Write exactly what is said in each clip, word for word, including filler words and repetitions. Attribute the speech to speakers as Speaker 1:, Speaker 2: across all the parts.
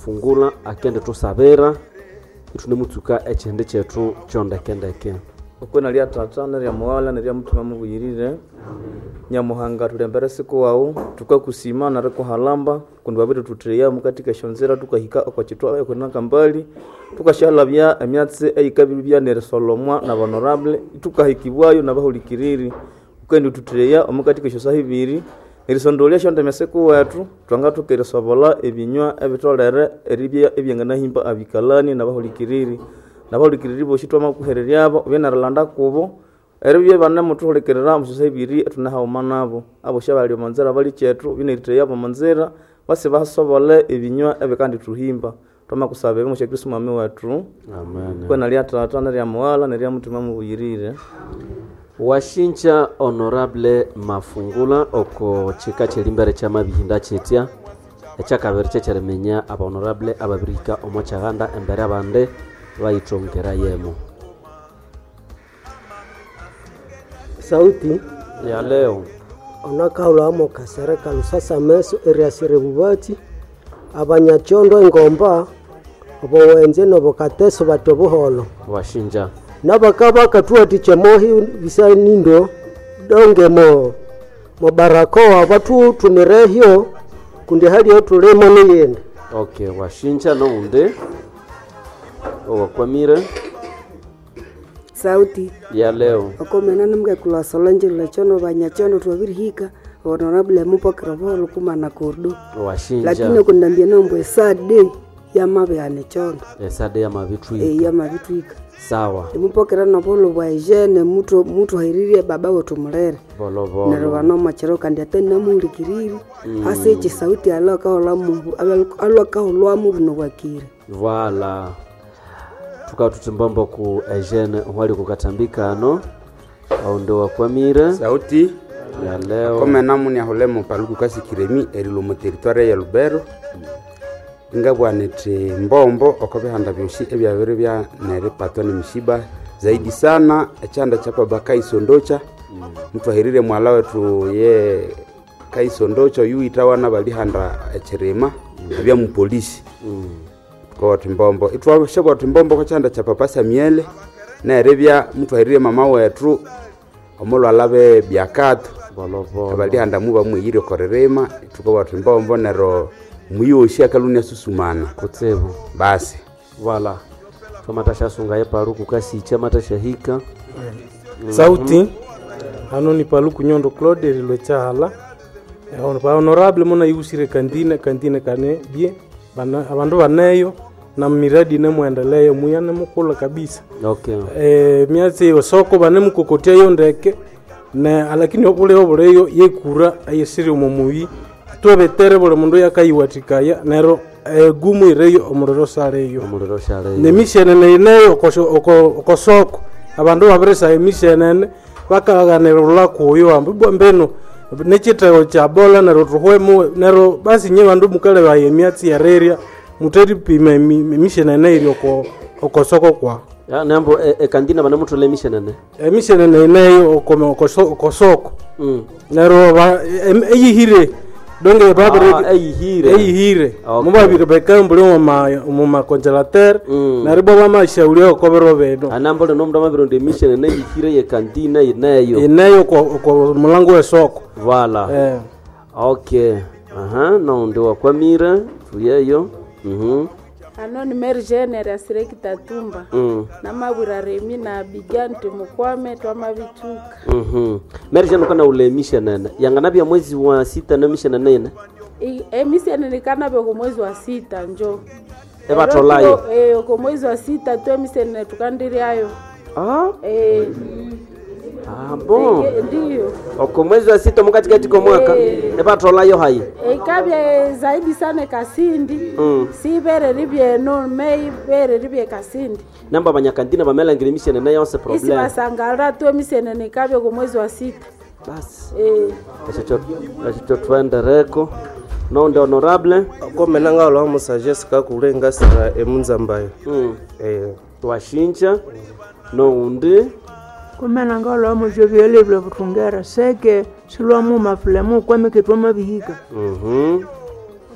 Speaker 1: Mafungula akende tusabira itunemutsuka ekihindi kyethu kyondekendeke.
Speaker 2: Okwina lya tata nerya mughala nerya muthima mubuyirire, Nyamuhanga thulembere siku wawu, tukakusima nerikuhalamba kundi wabirithuthiya mukathika esyonzira thukahika oko kithwa ekwinakambali, thukasyahalabya emyatsi eyikabiribya nerisolomwa naba honorable, thukahikibwayo nabahulikiriri. Wukendithutheya omukathika esyosaha ibiri erisondolya esyondime sikuwethu, thwangathoka erisobolha ebinywa ebitholere eribya ebyanganahimba abikalani nabahulikiriri. Nabahulikiriri bosi twamakuhereryabo wubye nerilanda kubo eribya ibanemuthuhulikirira omusyosaha ibiri ithune haghuma nabo. Abosi abali omonzira abalikyethu wubye neritheyabo omonzira basi basobole ebinywa ebikandithuhimba. Twamakusaba ebyo omwa Kristo mwami wethu.
Speaker 1: Amen.
Speaker 2: Kwina lya tata nerya mughala nerya muthima mubuyirire.
Speaker 1: Washinja honorable Mafungula oko chika kyelimbere kyamabihinda kyetya ekyakabiri kyekyeriminya aba honorable ababirihika omo kyaghanda embere abandi bayithongera yemo.
Speaker 3: Sauti
Speaker 1: ya leo
Speaker 3: onakahulhamo kasereka lusasameso eriasira ebubatsi abanyakyondo engomba obowenze nobokateso bati obuholo
Speaker 1: washinja
Speaker 3: nabakabakathuwathikya mohi bisanindo donge mo mobarakoa bathuthumирehyo kundi haliyo thulimo niyindi.
Speaker 1: Okay, washinja noundi owakwamire.
Speaker 4: Sauti
Speaker 1: ya leo
Speaker 4: okomena nimukekulu Solange lwechono banyachono twabirihika honorable mupokera buholo kumana kordo
Speaker 1: washinja
Speaker 4: lakini okundambia nombo esade yamabihana echondo
Speaker 1: esade yamabithwika
Speaker 4: e yamabithwika
Speaker 1: sawa
Speaker 4: emupokera nobuholo bwa Eugene mutu mutuhairirie baba wetu mulere
Speaker 1: bolobolo
Speaker 4: neryo banomokyero kandi ate namuhulikiriri mm. hasi ekyi sauti alwakahulwamu alwakahulwamu buno bwakire.
Speaker 1: Voila, tukatutimbombo ku Eugene wali kukatambikano aundi wakwamire
Speaker 5: Sauti
Speaker 1: ya leo
Speaker 5: komena muniahulemo paluku kasikiremi erilo mu territoire ya Lubero ingabwana ithi mbombo oko bihanda byosi ebyabiri bya neripatwa nemishiba zaidi sana ekyanda kya baba kaisondocha mutwahirire mwala wetu ye kaisondocha oyu itawana balihanda ekyirima ebya mupolisi tukawatha mbombo itwashabwatha mbombo kwa kyanda kya papa Samuel neribya mutwahirire mama wetu omulwala be byakato
Speaker 1: bolobolo
Speaker 5: abalihanda muba mwiyire okoririma tukawatha mbombo nero muyoshi akalunia susumana
Speaker 1: kutsibu
Speaker 5: basi
Speaker 1: voila twamatashasunga yepaluku kasicha matashahika
Speaker 6: Sauti hano ni Paluku Nyondo Claude erilwe kyahala ba honorable muna yusire kandine kandine kane bie bana abandu baneyo na miradi nemwendeleyo muyane mukula kabisa
Speaker 1: okay
Speaker 6: e, myatsi osoko bane mukokotia yo ndeke ne alakini obuleyo obuleyo yekura eyesiri omu muyi twebetere buli mundu yakayiwathikaya nero egumu ireyo omuliro saleyo
Speaker 1: omuliro shaleyo
Speaker 6: nemishenene ineyo okosoko abandu babirisa emishenene bakaghanirula kuyo ambu ibwa mbinu nekyithego kya bola neryo thuhwemu neryo basi nye bandu mukalebaya emyatsi yerirya mutheripima emi- emishenene iri oko okosoko kwa
Speaker 1: Ya, nembo ekandina banemuthola emishenene
Speaker 6: emishenene ineyo oko- okoso- okosoko
Speaker 1: mm.
Speaker 6: neryo ba- em- eyihire donge babiri
Speaker 1: Ah, eyihire
Speaker 6: eyihire
Speaker 1: Okay.
Speaker 6: mubabiri bekambuli mumakonjelatere
Speaker 1: Mm.
Speaker 6: neryo bo bamashauria okobiro bino
Speaker 1: anambo lino omundu amabironda emishenene eyihire yekandina ineyo
Speaker 6: ineyo oko oko mulango wesoko
Speaker 1: voila
Speaker 6: eh.
Speaker 1: okay aha noundi wakwamire thuyeyo mhm
Speaker 7: ano ni Mary Jane erasire Kitatumba
Speaker 1: mm.
Speaker 7: namabwira Remi na Abigail nti mukwame twamabithuka
Speaker 1: mhm Mary Jane ukana ule emishenene yanganabya mwezi wa sita nemishenene ine
Speaker 7: I- emisenene ikanabya oko mwezi wa sita njo
Speaker 1: Ebatholayo.
Speaker 7: Ero tu- eh, oko mwezi wa sita tu emisenene tukandiryayo
Speaker 1: ah
Speaker 7: Eh,
Speaker 1: ah bon
Speaker 7: eh, ndiyo
Speaker 1: oko mwezi wa sita mukatikati komwaka
Speaker 7: Eh.
Speaker 1: ebatholayo hayi
Speaker 7: ikabya zaidi sana ekasindi
Speaker 1: Mm.
Speaker 7: sibere ribyeno meibere ribye kasindi
Speaker 1: namba abanyakandina bamelangira emishenene yonse
Speaker 7: isi
Speaker 1: problem
Speaker 7: basangala tu emisenene ikabya oko mwezi wa sita
Speaker 1: basi
Speaker 7: Eh.
Speaker 1: ekyo ekyo twendereko noundi honorable
Speaker 8: komena ngahulwa musagesi kakule ngasira emunzambayo
Speaker 1: mm.
Speaker 8: eh
Speaker 1: twashinja noundi
Speaker 9: kumena ngahulwa jovyolevile buthungera seke silwamuma fulemu kwamike twamabihika
Speaker 1: mhm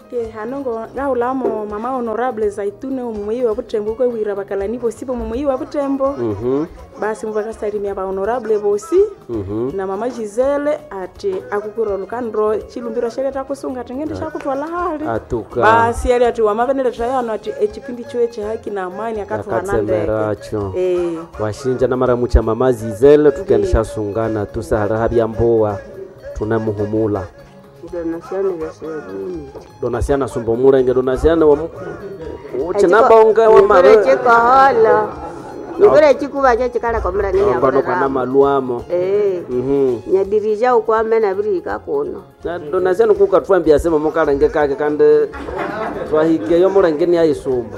Speaker 7: Ok, Okay, hano ngo ngahulamo mama honorable Zaitune omumuyi wa Butembo kwewira bakalani bosi bomumuyi wa Butembo.
Speaker 1: Mhm.
Speaker 7: Basi mubakasalimia ba honorable bosi.
Speaker 1: Mhm.
Speaker 7: Na mama Gisele ati akukura lukandro chilumbiro sheleta kusunga tengende shakutwala hali.
Speaker 1: Atuka.
Speaker 7: Basi ali ati wamaveneleta yano ati echipindi chiwe che haki na amani akatuhana ndeke.
Speaker 1: Akatsemeracho.
Speaker 7: Eh.
Speaker 1: Washinja na maramucha mama Zizele tukendesha sungana tusahara habyamboa tunamuhumula.
Speaker 10: Donasiano vyasebuni
Speaker 1: Donasiana sumba mulenge Donasiana wa uchinabonga wa mare
Speaker 10: chikohola nikore chikuva chachikala komera
Speaker 1: ngono kana maluamo.
Speaker 10: Eh.
Speaker 1: Mhm.
Speaker 10: Nyadirija ukwame nabirihika kuno
Speaker 1: Na Donasiana kukatwambia sema mukalenge kake kandi twahikeyo mulenge ni ayisumba.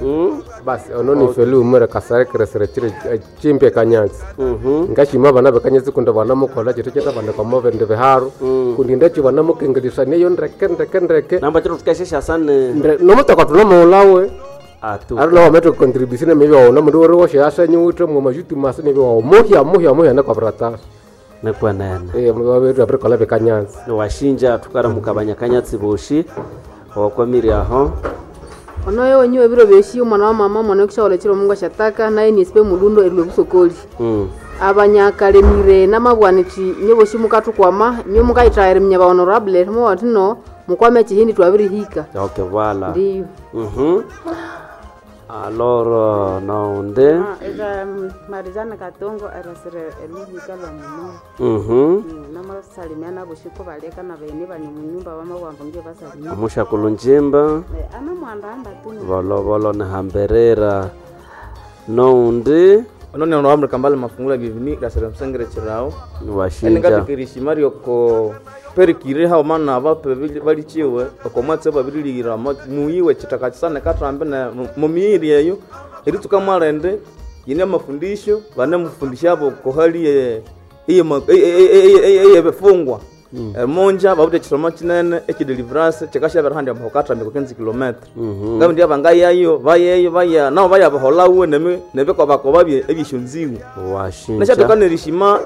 Speaker 1: Mm?
Speaker 11: Basi ono ni felu umere kasare keresere chire chimpe kanyatsi.
Speaker 1: Mhm.
Speaker 11: Ngashima bana bekanyatsi kundi banamukola chito chita bana koma bende biharu. Kundi ndachi banamukengelisa neyo ndeke ndeke ndeke.
Speaker 1: Namba chiro tukashesha sana.
Speaker 11: Ndre nomutaka tunomuulawe.
Speaker 1: Atuka.
Speaker 11: Ari nawa meto contribution maybe waona mundu uri woshe asenyi withe mwe majuti mase nebe wawo muhya muhya muhya nekwabirata.
Speaker 1: Nekwenene.
Speaker 11: Eh mwabetu abirikola bekanyatsi.
Speaker 1: Washinja tukaramuka banyakanyatsi boshi owakwamiri aho.
Speaker 12: Onoyo wenyiwe biro byoshi omwana wa mama omwana wekishaolo chiro mungu ashataka naye niesipe mulundo erilwe busokoli.
Speaker 1: Mm.
Speaker 12: Abanyakalemire namabwanithi nyoboshi mukathukwama nyo mukayithayira minya ba honorable mubati no mukwame chihindi twabirihika.
Speaker 1: Okay, voilà.
Speaker 12: Ndiyo.
Speaker 1: Mhm. Alors naonde.
Speaker 13: Eka Marizana Katongo erasire eluhika lwa muno.
Speaker 1: Mhm.
Speaker 13: Namasalimia naboshiko baleka na baine bani munyumba bamabwambo nge basalimia.
Speaker 1: Amusha kulunjimba.
Speaker 13: Ana mwandamba tu.
Speaker 1: Volovolo nihamberera. Noundi.
Speaker 2: Ono ni honorable Kambale Mafungula Bienvenue rasira msengere chirao.
Speaker 1: Washinja.
Speaker 2: Eningatikirishima ryoko perikire hao mana abape balichiwe okomwatse babiriliira muyiwe chitaka chisane katrambe na mumiiri eyo eritsuka mwalende yine amafundisho bane mufundisha abo kohali ye eyebifungwa emunja babute chisomo chinene echideliverance chikashabera handi amho katrambe kukenzi kilometre ngabe ndi abangayayo bayeyo baya nabo bayabaholauwe nemi nebikobakoba bye ebyeshonziwe
Speaker 1: Washinja.
Speaker 2: nashatokana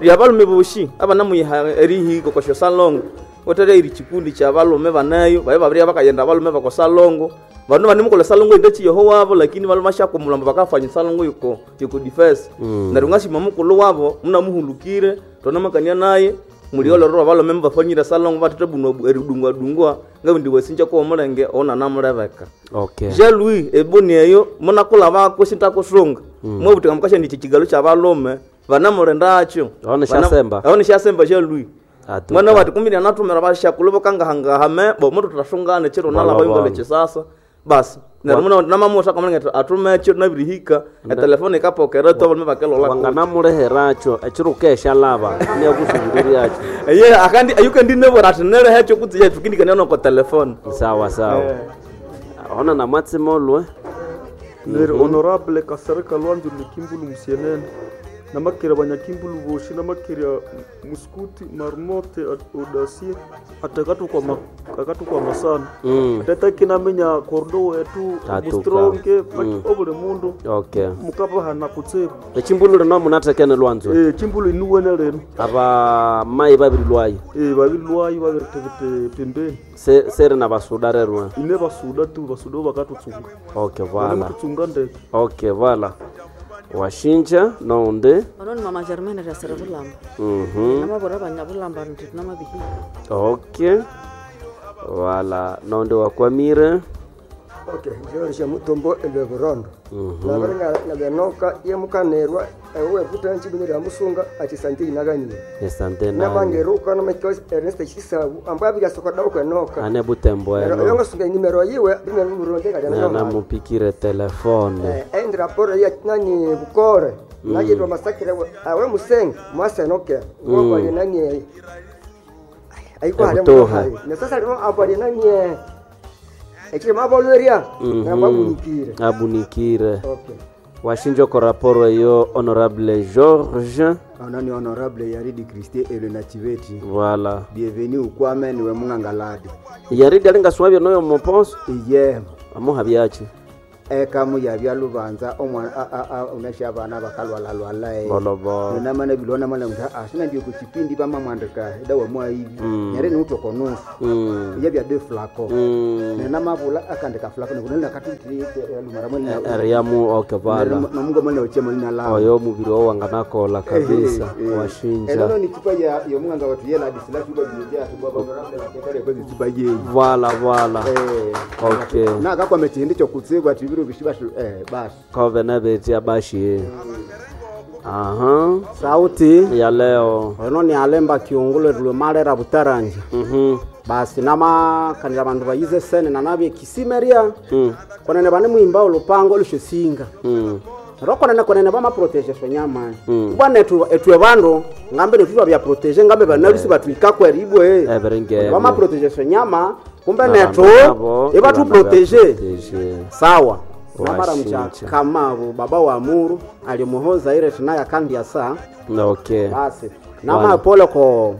Speaker 2: lya balume boshi abanamuyiha erihiko kosho salongo otere iri chikundi cha balume banayo baye babiri bakayenda balume bako salongo bano banimukola salongo inde chiyoho wabo lakini balume bashakumulamba bakafanya salongo yuko yuko defense
Speaker 1: Mm.
Speaker 2: neryo ngashima mukulu wabo munamuhulukire tonamakania naye muliolorwa balume mubafanyire salongo batete buno eridungwa dungwa ngabe ndi wesinja ko omulenge ona namulebeka
Speaker 1: Okay.
Speaker 2: Jean Louis eboni eyo munakula bako sintakusunga
Speaker 1: Mm.
Speaker 2: mwabutika mukasha ndi chichigalo cha balume vanamulendacho
Speaker 1: Aone shasemba.
Speaker 2: aone shasemba Jean Louis
Speaker 1: Atuka.
Speaker 2: mwana wati kumbi anatumira bashakulu bokangahangahame bo mutu tutasungane chiro nala
Speaker 1: Wala
Speaker 2: bayungale
Speaker 1: wala.
Speaker 2: chisasa basi neryo muna namamusa kamulenga atumecho nabirihika etelefoni ikapokera to balume bakelola
Speaker 1: Wanganamuleheracho echiro kesha lava niyakusubiririacho.
Speaker 2: eye akandi ayukendi nebora ati nerehecho kutsiya tukindikania noko telefoni
Speaker 1: Sawa sawa. Ona na mwatsimolwe.
Speaker 14: Neri
Speaker 1: Mhm.
Speaker 14: honorable Kasereka Lwanzo Lukimbulu Musienene namakere banyakimbulu boshi namakere muskuti marmote audasie atakatukwama akatukwama sana
Speaker 1: Mm.
Speaker 14: atatakinamenya kordo wetu
Speaker 1: Atuka.
Speaker 14: mustronge
Speaker 1: Mm.
Speaker 14: obuli mundu
Speaker 1: Okay.
Speaker 14: mukabahana kutsibu
Speaker 1: Echimbulu lino munathekene lwanzo.
Speaker 14: Eh, chimbulu inuwene lino
Speaker 1: Aba mai babiri lwayo.
Speaker 14: Eh, babiri lwayo babiri pembeni
Speaker 1: Se sere na basuda rerwa.
Speaker 14: ine basuda tu basuda bakatutsunga
Speaker 1: Okay, voilà.
Speaker 14: Banemututsunga ndeke
Speaker 1: Okay, voilà. Washinja nounde.
Speaker 13: Ono ni mama Germaine rasire bulamba.
Speaker 1: Mhm.
Speaker 13: Namabora banyabulamba nti namabihika.
Speaker 1: Okay. Voilà, nounde wakwamire.
Speaker 3: Okay, njorisha mutombo elwe burondo
Speaker 1: Mhm.
Speaker 3: nabarenga nabenoka yemukanerwa ewe butanchi bunira musunga ati sante inaganyire
Speaker 1: Esante nani.
Speaker 3: nabangeruka namekos Ernest Chisabu ambwa bigasoka dauka noka
Speaker 1: Ane butembo
Speaker 3: Nero
Speaker 1: eno.
Speaker 3: yonga sunga nimero yiwe bimero buronde kali
Speaker 1: Na namupikire telefone.
Speaker 3: eh endra raporo ya nani bukore
Speaker 1: Mm.
Speaker 3: najitwa masakire awe musenge mwasenoke
Speaker 1: Mm.
Speaker 3: ngoko nani aiko hali
Speaker 1: Ebutoha.
Speaker 3: na sasa leo hapo ali nani ekiri mabolweria
Speaker 1: Mhm.
Speaker 3: nababunikire
Speaker 1: Abunikire.
Speaker 3: Okay.
Speaker 1: Washinja ko raporo eyo honorable George.
Speaker 15: Onani honorable Yaridi Christie Elena Chiveti.
Speaker 1: Voilà.
Speaker 15: Bienvenue ukwame niwe mungangaladi.
Speaker 1: Yaridi alinga swabyo noyo moposo.
Speaker 15: Iye.
Speaker 1: Amuha byachi.
Speaker 15: Ekamu yabya lubanza omwana unasha abana bakalwalalwala eh.
Speaker 1: Bolobolo.
Speaker 15: Namana bilona mana mutha asina ndio kuchipindi bamamwandika dawa mwaivi
Speaker 1: Mm.
Speaker 15: nyere niutokonusu
Speaker 1: Mm.
Speaker 15: yabya de flako
Speaker 1: Mm.
Speaker 15: nenamabula akandika flako nekunalina katutire lumara
Speaker 1: Eriamu okay vala.
Speaker 15: nomungu mwana uchema lina
Speaker 1: Oyo mubiri wawo wanganakola kabisa washinja.
Speaker 15: enono ni chupa ya yomunganga watu yela adisila chupa biyeja tuba honorable wakekare kwezi chupa yeyi
Speaker 1: Vala vala.
Speaker 15: Eh.
Speaker 1: Okay.
Speaker 15: na akakwame chihindi chokutsibwa tibiro bishiba eh basi
Speaker 1: Kove nebeti abashi. Aha.
Speaker 16: Sauti
Speaker 1: ya leo
Speaker 16: ono ni alemba kiungulo lumalera butaranja
Speaker 1: Mhm.
Speaker 16: basi namakanira bandu bayize sene nanabye kisimeria
Speaker 1: Mm.
Speaker 16: konene bane mwimba olupango olushosinga
Speaker 1: Mm.
Speaker 16: ero konene konene bamaprotege shonyama
Speaker 1: Mm.
Speaker 16: ibwa netu etwe bandu ngambe netu twabyaprotege ngambe banalusi batwikako eribwe
Speaker 1: Ebiringebyo.
Speaker 16: bamaprotege shonyama kumbe
Speaker 1: Na
Speaker 16: netu
Speaker 1: bandu nabo,
Speaker 16: ibatuprotege
Speaker 1: ibanabaprotege.
Speaker 16: sawa namara
Speaker 1: Washinja.
Speaker 16: mchakamavu baba wa muru alimuhoza ile tunaya kandi asa
Speaker 1: Okay.
Speaker 16: basi namapole ko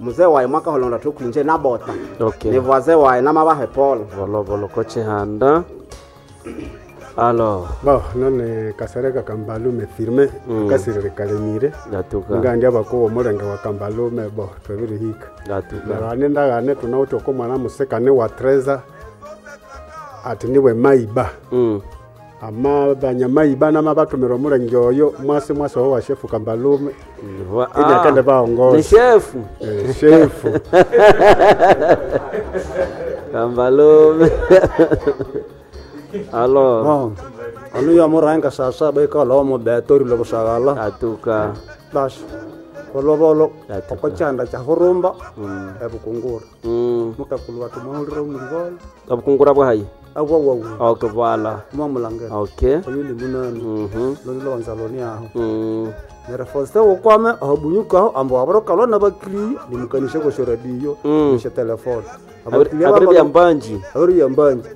Speaker 16: mzee waye mwaka holonda tukwinje nabota
Speaker 1: Okay.
Speaker 16: ni voisin waye namabahe pole
Speaker 1: Volovolo kochihanda. Alors.
Speaker 17: Bon, none kasereka kambalume firme
Speaker 1: Mm.
Speaker 17: kasirire kalemire
Speaker 1: Ngatuka.
Speaker 17: ngandi abakowa omulenge wa kambalume bo twabirihika
Speaker 1: Ngatuka.
Speaker 17: neryo ane ndagane tunawithe oko mwana musikane wa treza ati niwe maiba
Speaker 1: Mm.
Speaker 17: ama banyamaiba namabatumira omulenge oyo mwasi mwasi owo wa shefu kambalume
Speaker 1: Wa-
Speaker 17: ili
Speaker 1: ah,
Speaker 17: akende baongoza
Speaker 1: Ni shefu.
Speaker 17: Eh, shefu
Speaker 1: Kambalume. Alors.
Speaker 18: Bon, onu ya muranga saa saba ikala omo betori lobusagala
Speaker 1: atuka
Speaker 18: basi olobolo okochanda cha hurumba ebukungura
Speaker 1: Mm.
Speaker 18: mukakulu watu mwahulira omulibolo
Speaker 1: Obukungura bwahayi.
Speaker 18: abwawawu
Speaker 1: Okay, vala.
Speaker 18: mwamulangira
Speaker 1: Okay.
Speaker 18: oyu ni munani
Speaker 1: Mhm.
Speaker 18: loni lwanza loni aho
Speaker 1: Mm.
Speaker 18: neryo foste ukwame aho bunyukaho ambu wabirukalwa nabakiriya nimukanishe kwesyo radiyo
Speaker 1: Mm.
Speaker 18: nishe telefone
Speaker 1: Abiri- abiri bya mbanji.
Speaker 18: abiri bya mbanji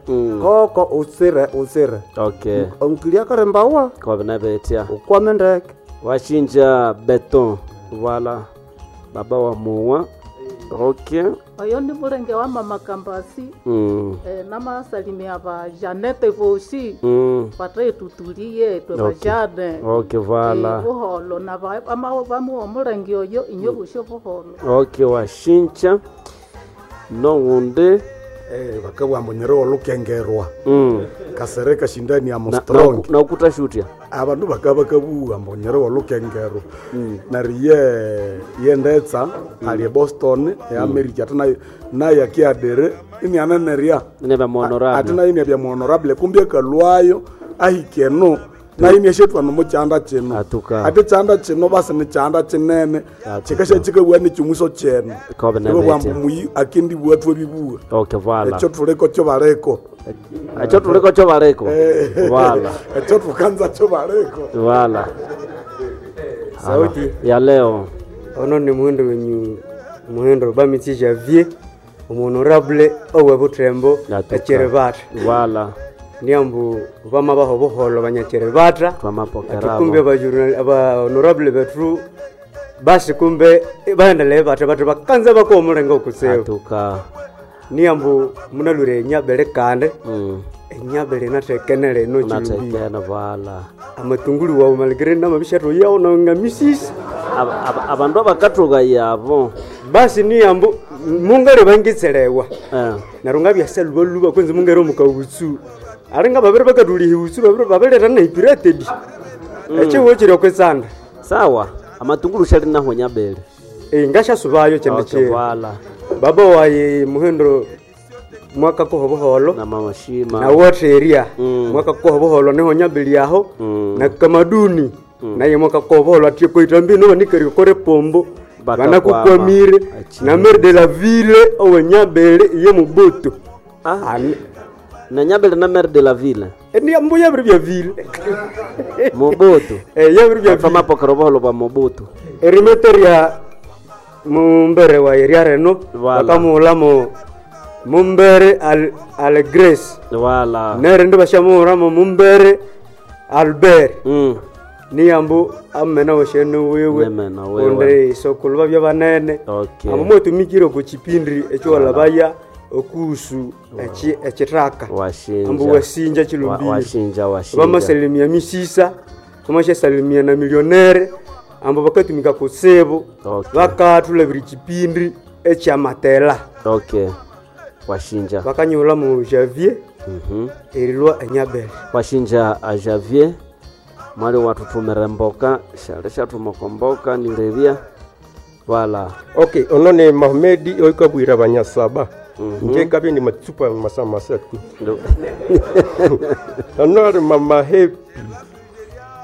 Speaker 18: koko utsire utsire
Speaker 1: Okay.
Speaker 18: omukiriya akarimbawa
Speaker 1: Kobe nebetia.
Speaker 18: ukwame ndeke
Speaker 1: Washinja beton. Vala. Baba wa muwa. Okay.
Speaker 19: Oyo ni mulenge wa mama Kambasi
Speaker 1: Mm.
Speaker 19: eh, namasalimia ba Janete vosi
Speaker 1: Mm.
Speaker 19: batetutulie twe
Speaker 1: Okay.
Speaker 19: bajane
Speaker 1: Okay, vala.
Speaker 19: Eh, buholo na ba- ama- bamuwa omulenge oyo inyo busho buholo
Speaker 1: Okay, washinja. Nowundi.
Speaker 20: Eh, bakabwamba nyero olukengerwa
Speaker 1: Mm.
Speaker 20: kasereka shindani ya
Speaker 1: Na-
Speaker 20: mostrong
Speaker 1: na ukuta shutia
Speaker 20: abandu bakaba bakabuwa mbu nyero olukengerwa neryo ye yendetsa ali e Boston e America ate nayo nayo akiadere inianenerya
Speaker 1: Inabya muhonorable.
Speaker 20: ate nayo inabya muhonorable kumbi akalwayo ahika eno nayo iniashetwa nomukyanda kino
Speaker 1: Atuka.
Speaker 20: ate kyanda kino basi ni kyanda kinene kikasha kikabwa nikimuso kyene
Speaker 1: Kobe
Speaker 20: Ibo bwambu
Speaker 1: nebetia.
Speaker 20: muyi akendibwa twebibuwa
Speaker 1: Okay, vala.
Speaker 20: ekyo tuliko kyo baleko
Speaker 1: Ekyo tuliko kyo baleko. Vala.
Speaker 20: ekyo tukanza kyo baleko
Speaker 1: Vala.
Speaker 8: Sauti
Speaker 1: ya leo
Speaker 8: ono ni muhindo wenyu muhindo bamitsi Javier omuhonorable owe Butembo echerevata
Speaker 1: Vala.
Speaker 8: niambu bama baho buholo banyacherevata
Speaker 1: Twamapokerabo.
Speaker 8: kumbe aba honorable bethu basi kumbe baendelee bata bata bakanza bakowa omulengo okutsibu
Speaker 1: Atuka.
Speaker 8: niambu munalwire enyabele kande
Speaker 1: Mm.
Speaker 8: enyabele nathekenele eno chilumbile
Speaker 1: Nathekene vala.
Speaker 8: amatungulu wawu malikire namabishathu yawo nangamisisi
Speaker 1: Aba- aba- Abandu abakathuka yabo.
Speaker 8: basi niyambu mungere bangitselewa
Speaker 1: Eh.
Speaker 8: neryo ngabyasa lubaluba kwenzi mungere omukawutsu alinga babiri bakathuliha iwutsu babiri babileta neipiratedi ekihuho kiri okwitsanda
Speaker 1: Sawa. Amatungulu shali naho nyabele.
Speaker 8: ngashasubayo kyende
Speaker 1: Okay,
Speaker 8: kiri
Speaker 1: vala.
Speaker 8: baba wayi muhindo mwaka kuho buholo
Speaker 1: Na mama Shima.
Speaker 8: na wotheria
Speaker 1: Mm.
Speaker 8: mwaka kuho buholo niho nyabili aho
Speaker 1: Mm.
Speaker 8: na kamaduni naye mwaka kuho buholo atye koita mbino banikeri kore pombo
Speaker 1: Bakakwama.
Speaker 8: banakukwamire na maire de la ville owe nyabele iye mubutu
Speaker 1: Ah. Na nyabele na maire de la ville.
Speaker 8: Ni mbu yabiri bya ville
Speaker 1: Mobutu.
Speaker 8: Eh yabiri bya ville.
Speaker 1: Twamapokera buholo bwa Mobutu.
Speaker 8: erimeteria mumbere wa eria reno
Speaker 1: Wala.
Speaker 8: bakamuhulamo mumbere al, al grace
Speaker 1: Wala.
Speaker 8: nerindi bashamuhulamo mumbere albert
Speaker 1: Mm.
Speaker 8: niyambu amena washene wiwe
Speaker 1: Nemena wiwe.
Speaker 8: kundi isokulu babya banene
Speaker 1: Okay.
Speaker 8: amo mwetumikire ku chipindi ekyo walabaya Okuhusu echi echitaka
Speaker 1: Washinja.
Speaker 8: ambu wasinja
Speaker 1: Wa-
Speaker 8: chilumbiro
Speaker 1: washinja washinja
Speaker 8: vamasalimia misisa vamashasalimia na milionere ambo vakatumika kutsibu
Speaker 1: Okay.
Speaker 8: vakathulavira chipindi echamatela
Speaker 1: okay washinja
Speaker 8: vakanyula mu Javier
Speaker 1: Mhm.
Speaker 8: erilwa enyabele
Speaker 1: washinja a Javier mwali wathuthumira emboka shali shathumaka mboka nilebya wala
Speaker 21: Okay, ono ni Mahmedi oikabwira banyasaba.
Speaker 1: Mhm.
Speaker 21: Nje kabye ni matsupa masa masa tu.
Speaker 1: Ndo.
Speaker 21: Ano ari mama Happy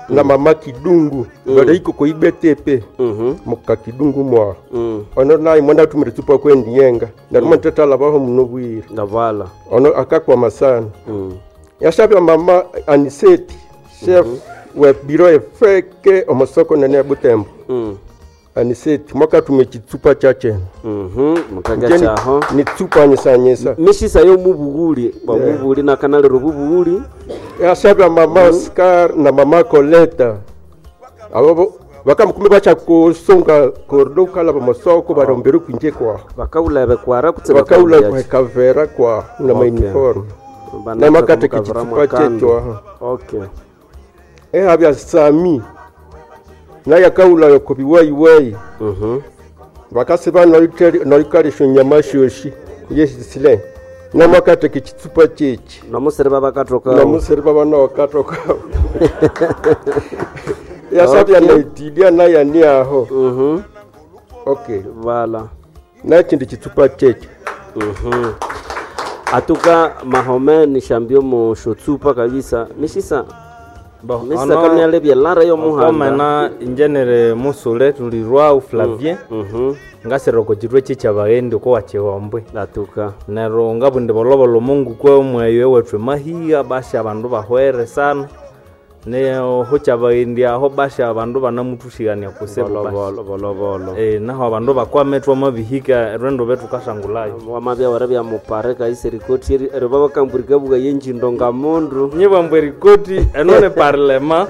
Speaker 21: na mama Kidungu mm. Baraiko koibetepe
Speaker 1: mm
Speaker 21: muka Kidungu mwa.
Speaker 1: Mm.
Speaker 21: Ono naye mwenda tumire tsupa kwendiyenga. Na mm. tetala baho muno bwire.
Speaker 1: Ndavala.
Speaker 21: Ono akakwama sana.
Speaker 1: Mm.
Speaker 21: Yashabya mama Aniseti chef mm -hmm. we biro efeke omusoko nene ya Butembo.
Speaker 1: Mm.
Speaker 21: Aniseti mwakatume chitsupa chache.
Speaker 1: Mhm, mukaga
Speaker 21: Nje ni-
Speaker 1: chaho.
Speaker 21: Ni tsupa nyesanyesa.
Speaker 1: Mishisa yomubughuli bwamubughuli nakanalero bubughuli
Speaker 21: Yashabya mama Oscar na mama Coleta. Abo bakamukumi bacha kusunga kordo kala bamasoko barombere kwinje kwa.
Speaker 1: Bakaulebe kwara kutse
Speaker 21: Bakaula
Speaker 1: bakaulya
Speaker 21: kwa kavera kwa na
Speaker 1: Okay.
Speaker 21: uniform.
Speaker 1: Bana
Speaker 21: Na makate
Speaker 1: kavera
Speaker 21: kichitsupa
Speaker 1: mwakando.
Speaker 21: checho aha.
Speaker 1: Okay.
Speaker 21: Ehabya Sami naye akaula yokobiwaiwai
Speaker 1: Mhm.
Speaker 21: bakasi banoikalisha nyama shoshi yesisile namakate kichitsupa chechi
Speaker 1: namusere babakatoka
Speaker 21: namusere babanawakatoka yasabya
Speaker 1: Okay.
Speaker 21: naitidia nayani aho
Speaker 1: Mhm.
Speaker 21: okay
Speaker 1: vala
Speaker 21: nachindi chitsupa chechi
Speaker 1: Mhm. Atuka mahome ni shambio mu shotsupa kabisa mishisa mishisa
Speaker 2: Ono-
Speaker 1: kamyalebya lara yo muhanda
Speaker 2: okomena injenere musule tuli rwau Flavien ngasira oko chitwe chichabaghende oko wachihombwe
Speaker 1: atuka
Speaker 2: neryo ngabundi bolobolo mungu kwe omweyo ewethu emahiga basi abandu bahwere sana neho kyabaghendi aho basi abandu banamuthushikania kusibu basi.
Speaker 1: Bolobolo, bolobolo.
Speaker 2: Eh, naho abandu bakwame twamabihika erwendo betukasangulayo
Speaker 1: wamabya wara bya mupare kaisa erikoti eri eri babakambwirika buga yenjindo nga mundu
Speaker 2: nyibambwa erikoti eno ni parlema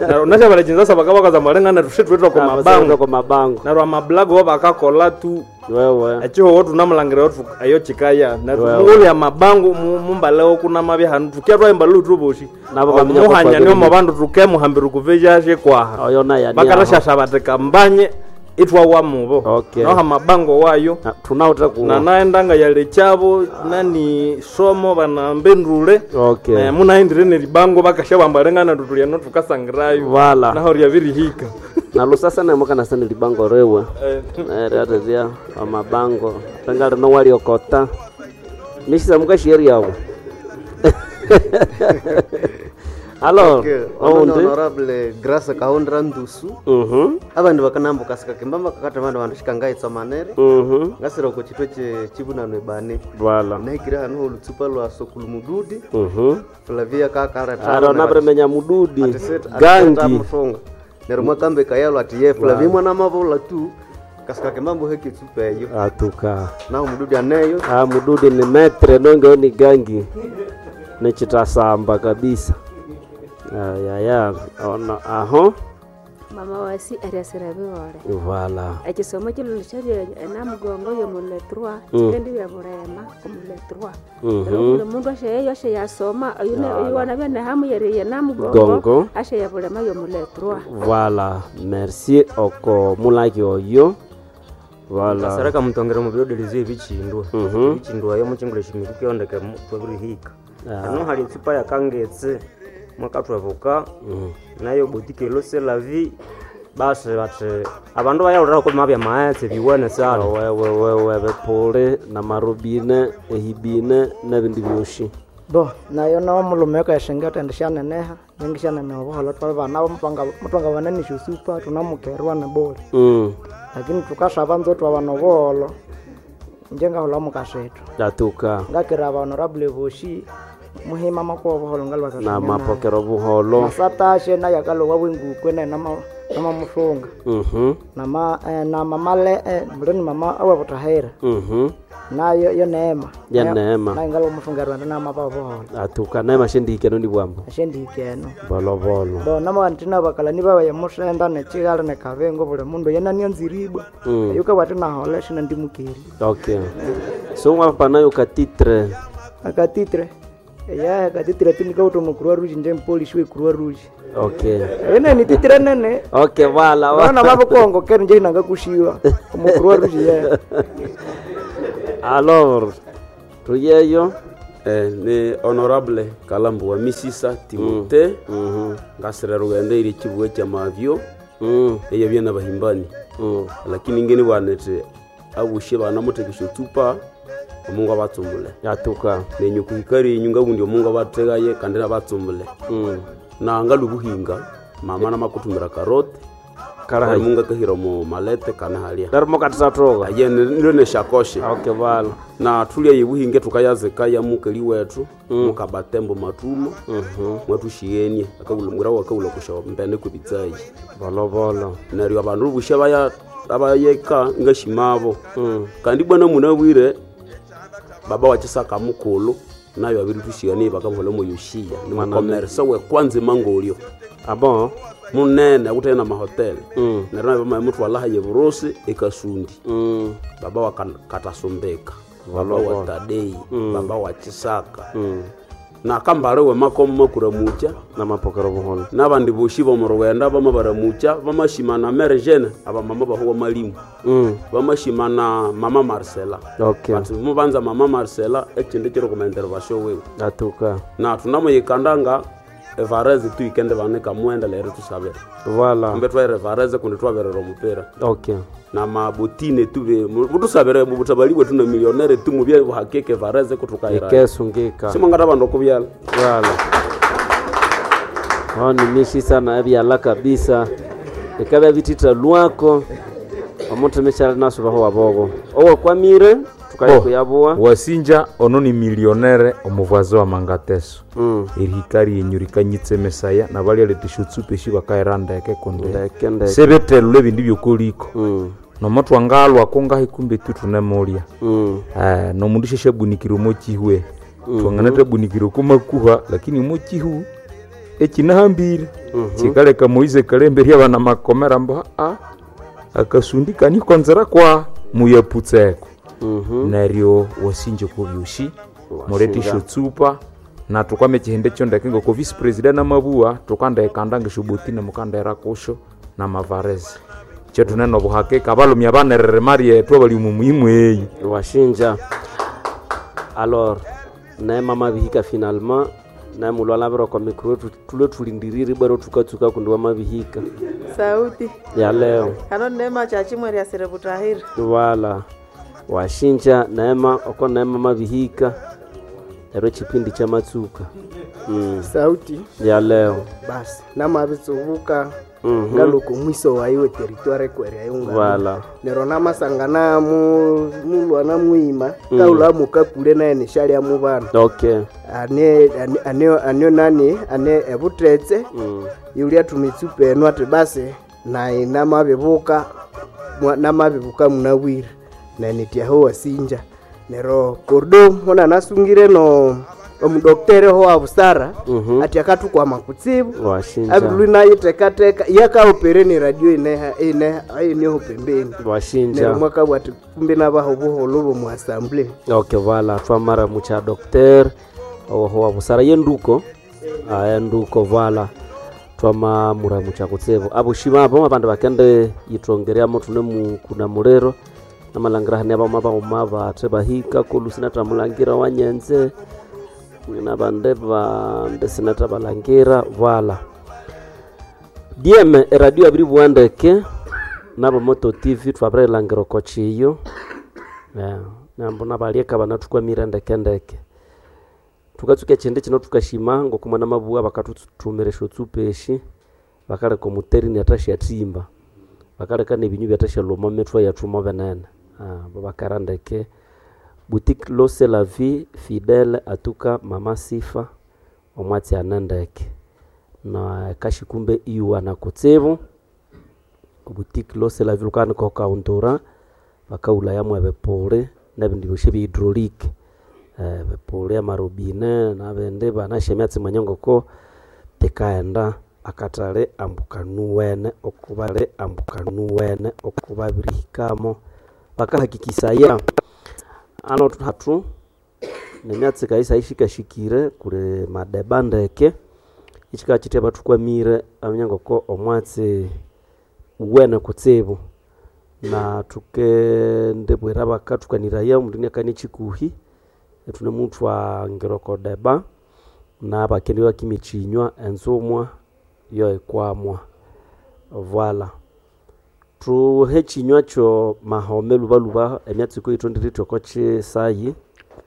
Speaker 2: neryo nashabalachinzasa bakabakaza malengana tushe twetwa kwa mabango
Speaker 1: kwa mabango
Speaker 2: neryo amablago bo bakakola tu
Speaker 1: wewe
Speaker 2: echihoho tunamulangira otu eyo chikaya neryo
Speaker 1: Wewe.
Speaker 2: mulya mabango mu- mumbalewo kunamabya hanu tukia twahimba tuboshi
Speaker 1: Nabo bamenya ko
Speaker 2: muhanya niyo
Speaker 1: kwabiri.
Speaker 2: mabandu tukemuhambira kuveja kwaha
Speaker 1: oyo naye ani
Speaker 2: bakarashasha bati kambanye itwawa mubo
Speaker 1: Okay.
Speaker 2: noha mabango wayo
Speaker 1: tunauta ku
Speaker 2: na naendanga yalechabo nani somo banambendule
Speaker 1: Okay.
Speaker 2: Eh, munaendire neribango bakasha bambalengana tutulyano tukasangirayo
Speaker 1: Wala.
Speaker 2: naho ryabirihika
Speaker 1: na lusasa namukanasa nilibango rewe
Speaker 2: Eh.
Speaker 1: ryareria amabango renga rino waliokota mishisa mukashieri yawo alors
Speaker 22: Okay, ono ni
Speaker 1: oundi
Speaker 22: honorable Grace Kaundra Ndusu
Speaker 1: Mhm.
Speaker 22: abandu bakanambuka sikakimba bakakata bandu bandu shikangaitsa manere
Speaker 1: Mhm.
Speaker 22: ngasira oko chitwe che chibunano ebane
Speaker 1: Voilà.
Speaker 22: nahikire hanu olutsupa lwa sokulu mududi
Speaker 1: Mhm.
Speaker 22: Flavia kakaleta
Speaker 1: Aro nabremenya mududi gangi
Speaker 22: mushonga neryo mwakambe kayalo ati ye Flavia mwana mavola tu kasikakimba mbuhe kitsupa eyo
Speaker 1: atuka
Speaker 22: naho mududi aneyo
Speaker 1: ah, mududi ni metre nonge ni gangi nichitasamba kabisa ayaya ono aho
Speaker 13: Mama wasi ariasira bihore
Speaker 1: Voilà.
Speaker 13: ekisomo kilulu kyabya enamugongo yomuletrwa
Speaker 1: Mm.
Speaker 13: kikendi bya bulema omuletrwa
Speaker 1: Mhm.
Speaker 13: Neryo buli mundu asheyeyo asheyasoma
Speaker 1: Voilà.
Speaker 13: oyu wanabya nehamu yeriye
Speaker 1: Gongo.
Speaker 13: namugongo asheya bulema yomuletrwa
Speaker 1: Voilà, merci oko mulaki oyo. Voilà.
Speaker 8: Kasaraka mutongera mu biroderezi ebichindwa
Speaker 1: Mhm.
Speaker 8: ebichindwa yo muchingule shimiku kyondeke twabirihika
Speaker 1: Ah.
Speaker 8: hano hali etsupa yakangetse mwakatwevuka
Speaker 1: Mm.
Speaker 8: nayo botike lose la vie basi bati abandu bayalolera ko mabya maetse biwene sana
Speaker 1: wewe wewe bepule na marubine ehibine nebindi byoshi
Speaker 23: bo nayo no mulume kayashenga tende shaneneha ningi shaneneha obuholo twali bana mutwanga bananisha osupa tunamukerwa na bole
Speaker 1: Mm.
Speaker 23: lakini tukasaba nzo twabana obuholo inje ngahula mukashethu
Speaker 1: Atuka
Speaker 23: ngakira aba honorable boshi muhima makuwa obuholo
Speaker 1: na mapokero buholo
Speaker 23: masatashe naye akalowa bwengukwe naye nama- Namamusunga
Speaker 1: Mhm.
Speaker 23: nama eh, na mama le eh, muleni mama awebutahira
Speaker 1: Mhm.
Speaker 23: nayo yo neema
Speaker 1: Ya
Speaker 23: Nayo-
Speaker 1: Neema.
Speaker 23: nayo ngalo musunga rwanda namaba obuholo
Speaker 1: Atuka neema shendihikeno ni bwambo.
Speaker 23: ashendihikeno
Speaker 1: Bolobolo.
Speaker 23: bo namawantina bakalani babaye musenda nechigala nekabengo buli mundu yenanianziribwa
Speaker 1: Mm.
Speaker 23: yukabwati nahole shinandimukeri
Speaker 1: Okay. So mwapanayo katitre.
Speaker 23: akatitre ya akatitre tinikauta mu croix rouge nje mpolishi we croix rouge
Speaker 1: Okay.
Speaker 23: ene ni titre nene
Speaker 1: Okay, wala
Speaker 23: vana vavukongo keri nje inanga kushiwa mu croix rouge ye
Speaker 1: Alors, tuyeyo
Speaker 4: eh, ni honorable kalambu wa misisa timote mm. ngasira rugenda iri chibuwe cha mavyo mm. eya byana bahimbani mm. lakini ngeni bwanete abushe banamutekesha tsupa omungu abatsumbule
Speaker 1: yatuka
Speaker 4: nenyu kuhikari inyu ngabundi omungu abategaye kandi nabatsumbule mm. na ngalubuhinga mama namakutumira karote
Speaker 1: Karahayi.
Speaker 4: mungu akahira mu malete kana halia
Speaker 1: Darimo katisatoka
Speaker 4: aye nilo neshakoshe
Speaker 1: okay bala
Speaker 4: na tulya yebuhinge tukayazika ya mukali wetu mm. mukabatembo matumo mm -hmm. mwatushiyenie akabula mwira wakabula kusha mbene kubitsayi
Speaker 1: bolobolo
Speaker 4: neryo abandu busha baya abayeka ngashimabo mm. kandi bwana munabwire baba wachisaka mukulu nayo abiri tushiyanie bakamuhola mu yoshiya ni mukomersa we kwanza mangolyo
Speaker 1: abo
Speaker 4: munene akutene na mahoteli mm. neryo nayo bamaye haye burusi ekasundi mm. baba wa Kan- katasumbika baba wa
Speaker 1: Bolobolo.
Speaker 4: tadei
Speaker 1: Mm.
Speaker 4: baba wa chisaka
Speaker 1: Mm.
Speaker 4: na kambale we makomo makuramucha
Speaker 1: namapokero buholo
Speaker 4: nabandi boshi bomurwenda bama baramucha bamashimana mere jene abamama bahuwa malimu
Speaker 1: Mm.
Speaker 4: bamashimana mama marcela
Speaker 1: Okay.
Speaker 4: bati mubanza mama marcela echindi chiri kuma intervention wewe
Speaker 1: Atuka.
Speaker 4: na tunamuyikandanga evareze tuikende banika mwenda lero tusabira
Speaker 1: Voilà.
Speaker 4: kumbe twaire vareze kundi twaberera omupira
Speaker 1: Okay.
Speaker 4: na mabotine tuve mutusabire mubutabali bwetu na milionere tumubye buhakike vareze kutukaira
Speaker 1: Ikesungika.
Speaker 4: simangata bandu okubyala
Speaker 1: Voilà. Hao ni mishi sana ebyala kabisa. Ikabya bitita lwako. Omuntu mishali nasubaho wabogo. Owo kwamire tukaye kuyabuwa.
Speaker 5: wasinja ono ni milionere omuvazi wa mangateso
Speaker 1: mm.
Speaker 5: erihika ryenyu rikanyitse mesaya nabalya shotsupa eshi bakaira ndeke kundi
Speaker 1: Ndeke, ndeke.
Speaker 5: sebethelula ebindi byokoliko
Speaker 1: mm.
Speaker 5: nomo twangalwako ngahi kumbe tu tunemulya
Speaker 1: mm.
Speaker 5: eh, nomundu sheshabunikire omo chihwe
Speaker 1: Mhm.
Speaker 5: twanganattabunikire okumakuha lakini omo chihu ekinahambire
Speaker 1: Mhm.
Speaker 5: chikaleka moize kalembe ryabana makomera mbo a akasundi kanikonzera kwa muyaputseko
Speaker 1: Mhm.
Speaker 5: neryo wasinje kobyoshi murete shotsupa na tukwame chihende chondeke ngoko vice president namabuwa tukandekanda ngeshobotina mukandera kusho na mavarezi chetunene obuhakika abalumya banerere mari yetu abali omu muhimu eyi
Speaker 1: Washinja. Alors, naye mama bihika finalement naye mulwala bero kwa mikro tulwe tulindiriri bwero tukatsuka kundi wamabihika
Speaker 6: sauti
Speaker 1: ya leo
Speaker 6: kano neema chachimwe ryasire butahira
Speaker 1: wala washinja neema oko neema mabihika ero chipindi cha matsuka mm.
Speaker 24: sauti
Speaker 1: ya leo
Speaker 24: basi namabitsubuka
Speaker 1: Mhm.
Speaker 24: ngaloko mwiso waiwe teritware kwere ayunga
Speaker 1: Wala.
Speaker 24: nero namasangana mu mulwana mwima
Speaker 1: Mm.
Speaker 24: kaula mukakule naye nishalya mubana
Speaker 1: okay
Speaker 24: ane ane- ane anio nani ane ebutetse
Speaker 1: mm.
Speaker 24: yulia tumitsupa eno ati basi naye namabibuka mwa- namabibuka munabwire nanityaho wasinja nero kordo mona nasungire no omudoktere ho wa busara
Speaker 1: Mhm.
Speaker 24: ati akatukwama kutsibu
Speaker 1: washinja
Speaker 24: abilwi nayitekateka yakaopere ni radio ineha ineha ineho pembeni
Speaker 1: washinja
Speaker 24: nero mwakabwa ati kumbe nabaho buholo bomu assembly
Speaker 1: okay vala twamara mucha docteur oho wa busara yenduko aya nduko vala twama muramu cha kutsibu abo shimabo abandu bakende yitongereamo tune mu kuna muliro namalangira hane abama bauma bathe bahika kulu sinathamulangira wanyenze nabande bande sinathabalangira vala diem eradio abiri bwandeke nabo moto tv twabirilangira oko chiyo Yeah, nambo nabalieka banathukwamire ndekendeke tukatsuka echindi kino tukashima ngokumwana mabuwa bakathuthumira esyotsupa eshi bakaleka omuterini athasyathimba bakaleka nebinyu byathashalhwa mithwe yethu mo binene Ah, bo bakara ndeke boutique lose la vie fidèle atuka mama sifa omwatsi ane ndeke na kashikumbe iwana kutsibu Boutique Lose la Ville lukana kokaundura bakaulaya mwebipuli nebindi byosi bya hydraulique eh, bipuli amarobine nabindi banasya emyatsi mwanya ngoko tikaghenda akatale ambukanuwene okubali ambukanuwene okubabirihikamo bakahakikisaya ano hatu nemyatsi kaisa ishikashikire kuli madeba ndeke ichika chitya bathukwamire aminya ngoko omwatsi uwene kutsibu na tukendibwira bakathukaniraya omundu iniakania chikuhi ithunemuthwangira oko deba na bakendi bakimya ekinywa enzumwa yo ikwamwa voila thuhe ekinywa kyo mahome lubaluba emyatsi kuyithondirithe oko kisayi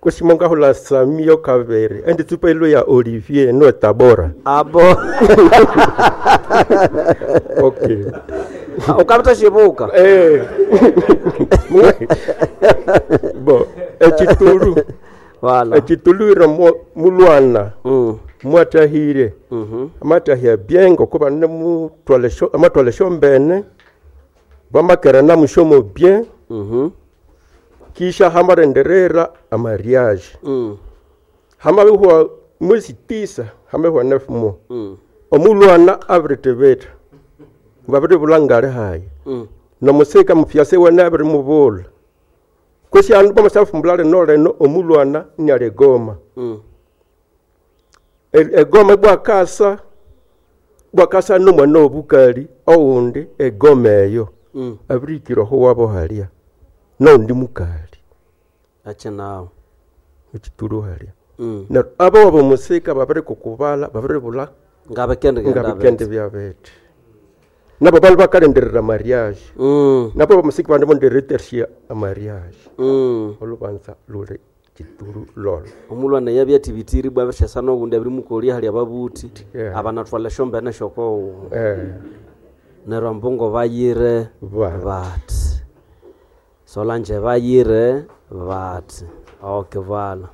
Speaker 21: Kushimo ngahula Samio Kavere endi tsupa ilo ya Olivier no Tabora
Speaker 1: abo
Speaker 21: okay
Speaker 1: ukabita shibuka
Speaker 21: eh bo ekitulu
Speaker 1: Voilà.
Speaker 21: ekitulu iro mulwana
Speaker 1: mm.
Speaker 21: mwatahire
Speaker 1: mm -hmm.
Speaker 21: amatahia bien ngokuba nemutwala sho amatwala shombene vamakera namushomo bien
Speaker 1: mm -hmm.
Speaker 21: kisha hamarenderera amariage
Speaker 1: mm.
Speaker 21: hamabihwa mwezi tisa hamabihwa neuf mois
Speaker 1: mm.
Speaker 21: omulwana abiritebeta vabiribula ngale hayi
Speaker 1: mm.
Speaker 21: nomusika mufyase wene abirimubula kwesi andu bamasafumbula lino lino omulwana niali egoma
Speaker 1: mm.
Speaker 21: E- egoma bwakasa bwakasa nomwana obukali oundi egoma eyo
Speaker 1: Mm.
Speaker 21: abirikira oho wabo halia noundi mukali
Speaker 1: ache nawo
Speaker 21: ekitulu halia
Speaker 1: mm.
Speaker 21: neryo abo wabo musika babirikukubala babiribula
Speaker 1: ngabikende
Speaker 21: ngabikende byabete nabo bandu bakalenderera mariage
Speaker 1: mm.
Speaker 21: nabo bamusika bandu bonderetersia amariage
Speaker 1: mm.
Speaker 21: olubanza luli kitulu lolo
Speaker 1: omulwana yabyatibitiri bwabishasa nogundi abirimukolya hali ababuthi
Speaker 21: Yeah.
Speaker 1: abanathwala esyombene syokowu
Speaker 21: Eh.
Speaker 1: neryo ambungo bayire bati solange bayire bati okay vala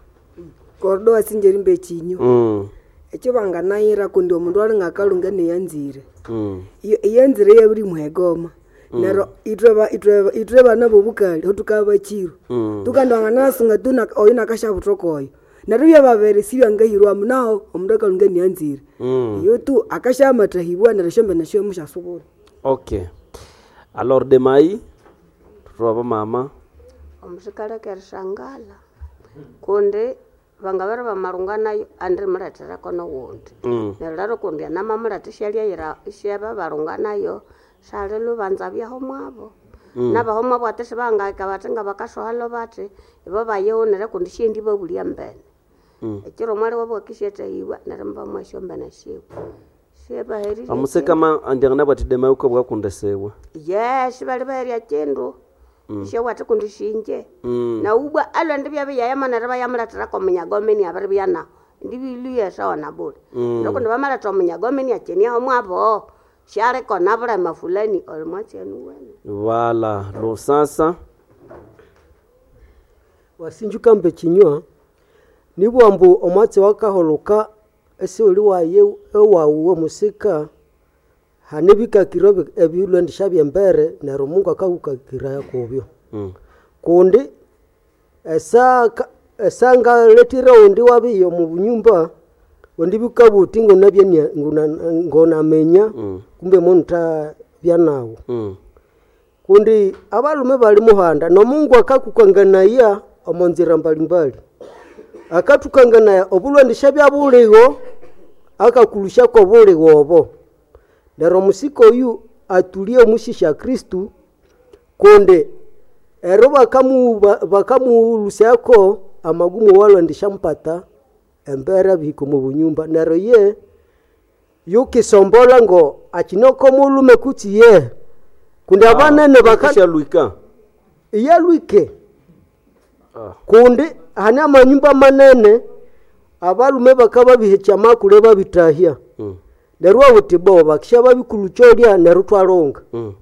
Speaker 7: Kordo wasinjeri mbe chinyo
Speaker 1: mm.
Speaker 7: ekyo banganayira kundi omundu alinga akalunga neyanzire
Speaker 1: mm.
Speaker 7: Iyo- iyanzire yabiri muhegoma
Speaker 1: Mm.
Speaker 7: neryo itwe ba- itwe itwe bana bobukali hotukaba bakiro
Speaker 1: Mm.
Speaker 7: tukandi wanganasunga tu nak- oyo nakashabutoka oyo neryo byababere sibyangahirwamu naho omundu akalunga neyanzire
Speaker 1: Mm.
Speaker 7: iyo tu akashamatahibwa neryo esyombene syo musyasubura
Speaker 1: okay alors demai tutwaba mama
Speaker 13: omusikaleka erishangala kundi vangaveri vamalunga nayo andirimuletherako nowundi
Speaker 1: Mm.
Speaker 13: neryo lero kundi anamamuletha isyalyayira isyava valunga nayo sali lubanza byaho mwavo
Speaker 1: Mm.
Speaker 13: nabaho mwavo ati sibangahika bati nga bakasohalo bati ibo bayighunire kundi syendi babulya mbene
Speaker 1: Mm.
Speaker 13: ekiro mwali wabwakisyethehiwa neryo mubamwa esyombene syiwe syebaherire
Speaker 1: amusika ma andiangana bwati demai ukabwa kundesiwa
Speaker 13: yes bali baherya kindu
Speaker 1: Mm.
Speaker 13: isyowati kundi sinje
Speaker 1: Mm.
Speaker 13: naubwa alwende byabiyayama neryo bayamuletherako omunyagomeni abiribya nawo ndibiluya sawa na bule
Speaker 1: Mm.
Speaker 13: nokundi bamaletha omunyagomeni akyeniaho mwabo syalikona bulema fulani oli mwakyenu wene
Speaker 1: vala lusasa
Speaker 9: wasinjuka mbe kinywa nibwa mbu omwatsi wakaholoka esiuli waye ewawu omusika hane bikakiro ebi- ebilwendisha byembere neryo Mungu akakukakiraya kubyo
Speaker 1: Mm.
Speaker 9: kundi esa esangaletire undi wabiyo mu bunyumba undi bikabuti ngonabye ngonamenya
Speaker 1: Mm.
Speaker 9: kumbe munta byanawo
Speaker 1: Mm.
Speaker 9: kundi abalume bali muhanda nomungu akakukanganaya omonzira mbalimbali akatukanganaya obulwandisha bya buligo akakulushako obuligo obo neryo omusika oyu atulie omushisha kristu kundi ero bakamu- ba- bakamuulusyako amagumu walwandisha mpata embera bihika omu bunyumba neryo ye yukisombola ngo akinoko mulume kutsi ye kundi abanene baka
Speaker 1: Ishalwika
Speaker 9: iyalwike
Speaker 1: Ah.
Speaker 9: kundi hane amanyumba manene abalume bakababihekya makule babitahya
Speaker 1: Mm.
Speaker 9: neryo awuti bo bakisha babikulukyolya neryo twalonga
Speaker 1: Mm.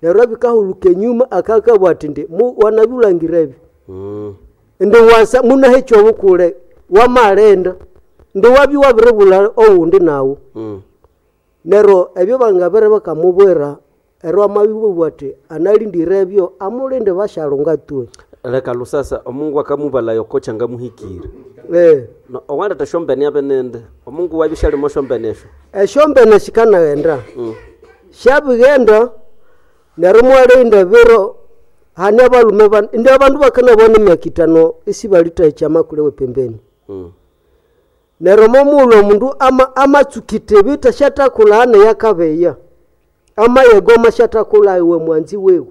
Speaker 9: neryo abikahuluka enyuma akakabwa ati ndi mu wanabyulangira ebi
Speaker 1: Mm.
Speaker 9: ndi wasa munahekya obukule wamalenda ndi wabi wabiribula owundi nawu
Speaker 1: Mm.
Speaker 9: neryo ebyo bangabere bakamubwira Ero amabibwa ati analindire ebyo amulinde bashalunga twe.
Speaker 1: Leka lusasa omungu akamubala yokocha ngamuhikire.
Speaker 9: Eh.
Speaker 1: No owandeta esyombene abe nende. Omungu wabyo syalimo esyombene esyo.
Speaker 9: Esyombene sikanaghenda.
Speaker 1: Mm.
Speaker 9: Syabighenda neryo mwalinda ebiro hane abalume bana indi abandu bakanabona emyaka itano isibalitahikya amakule we pembeni.
Speaker 1: Mm.
Speaker 9: Neryo momughulhu omundu ama amatsukite ebita syatakulha hane yakabeya. Amayegoma syatakulha iwe mwanzi wewe.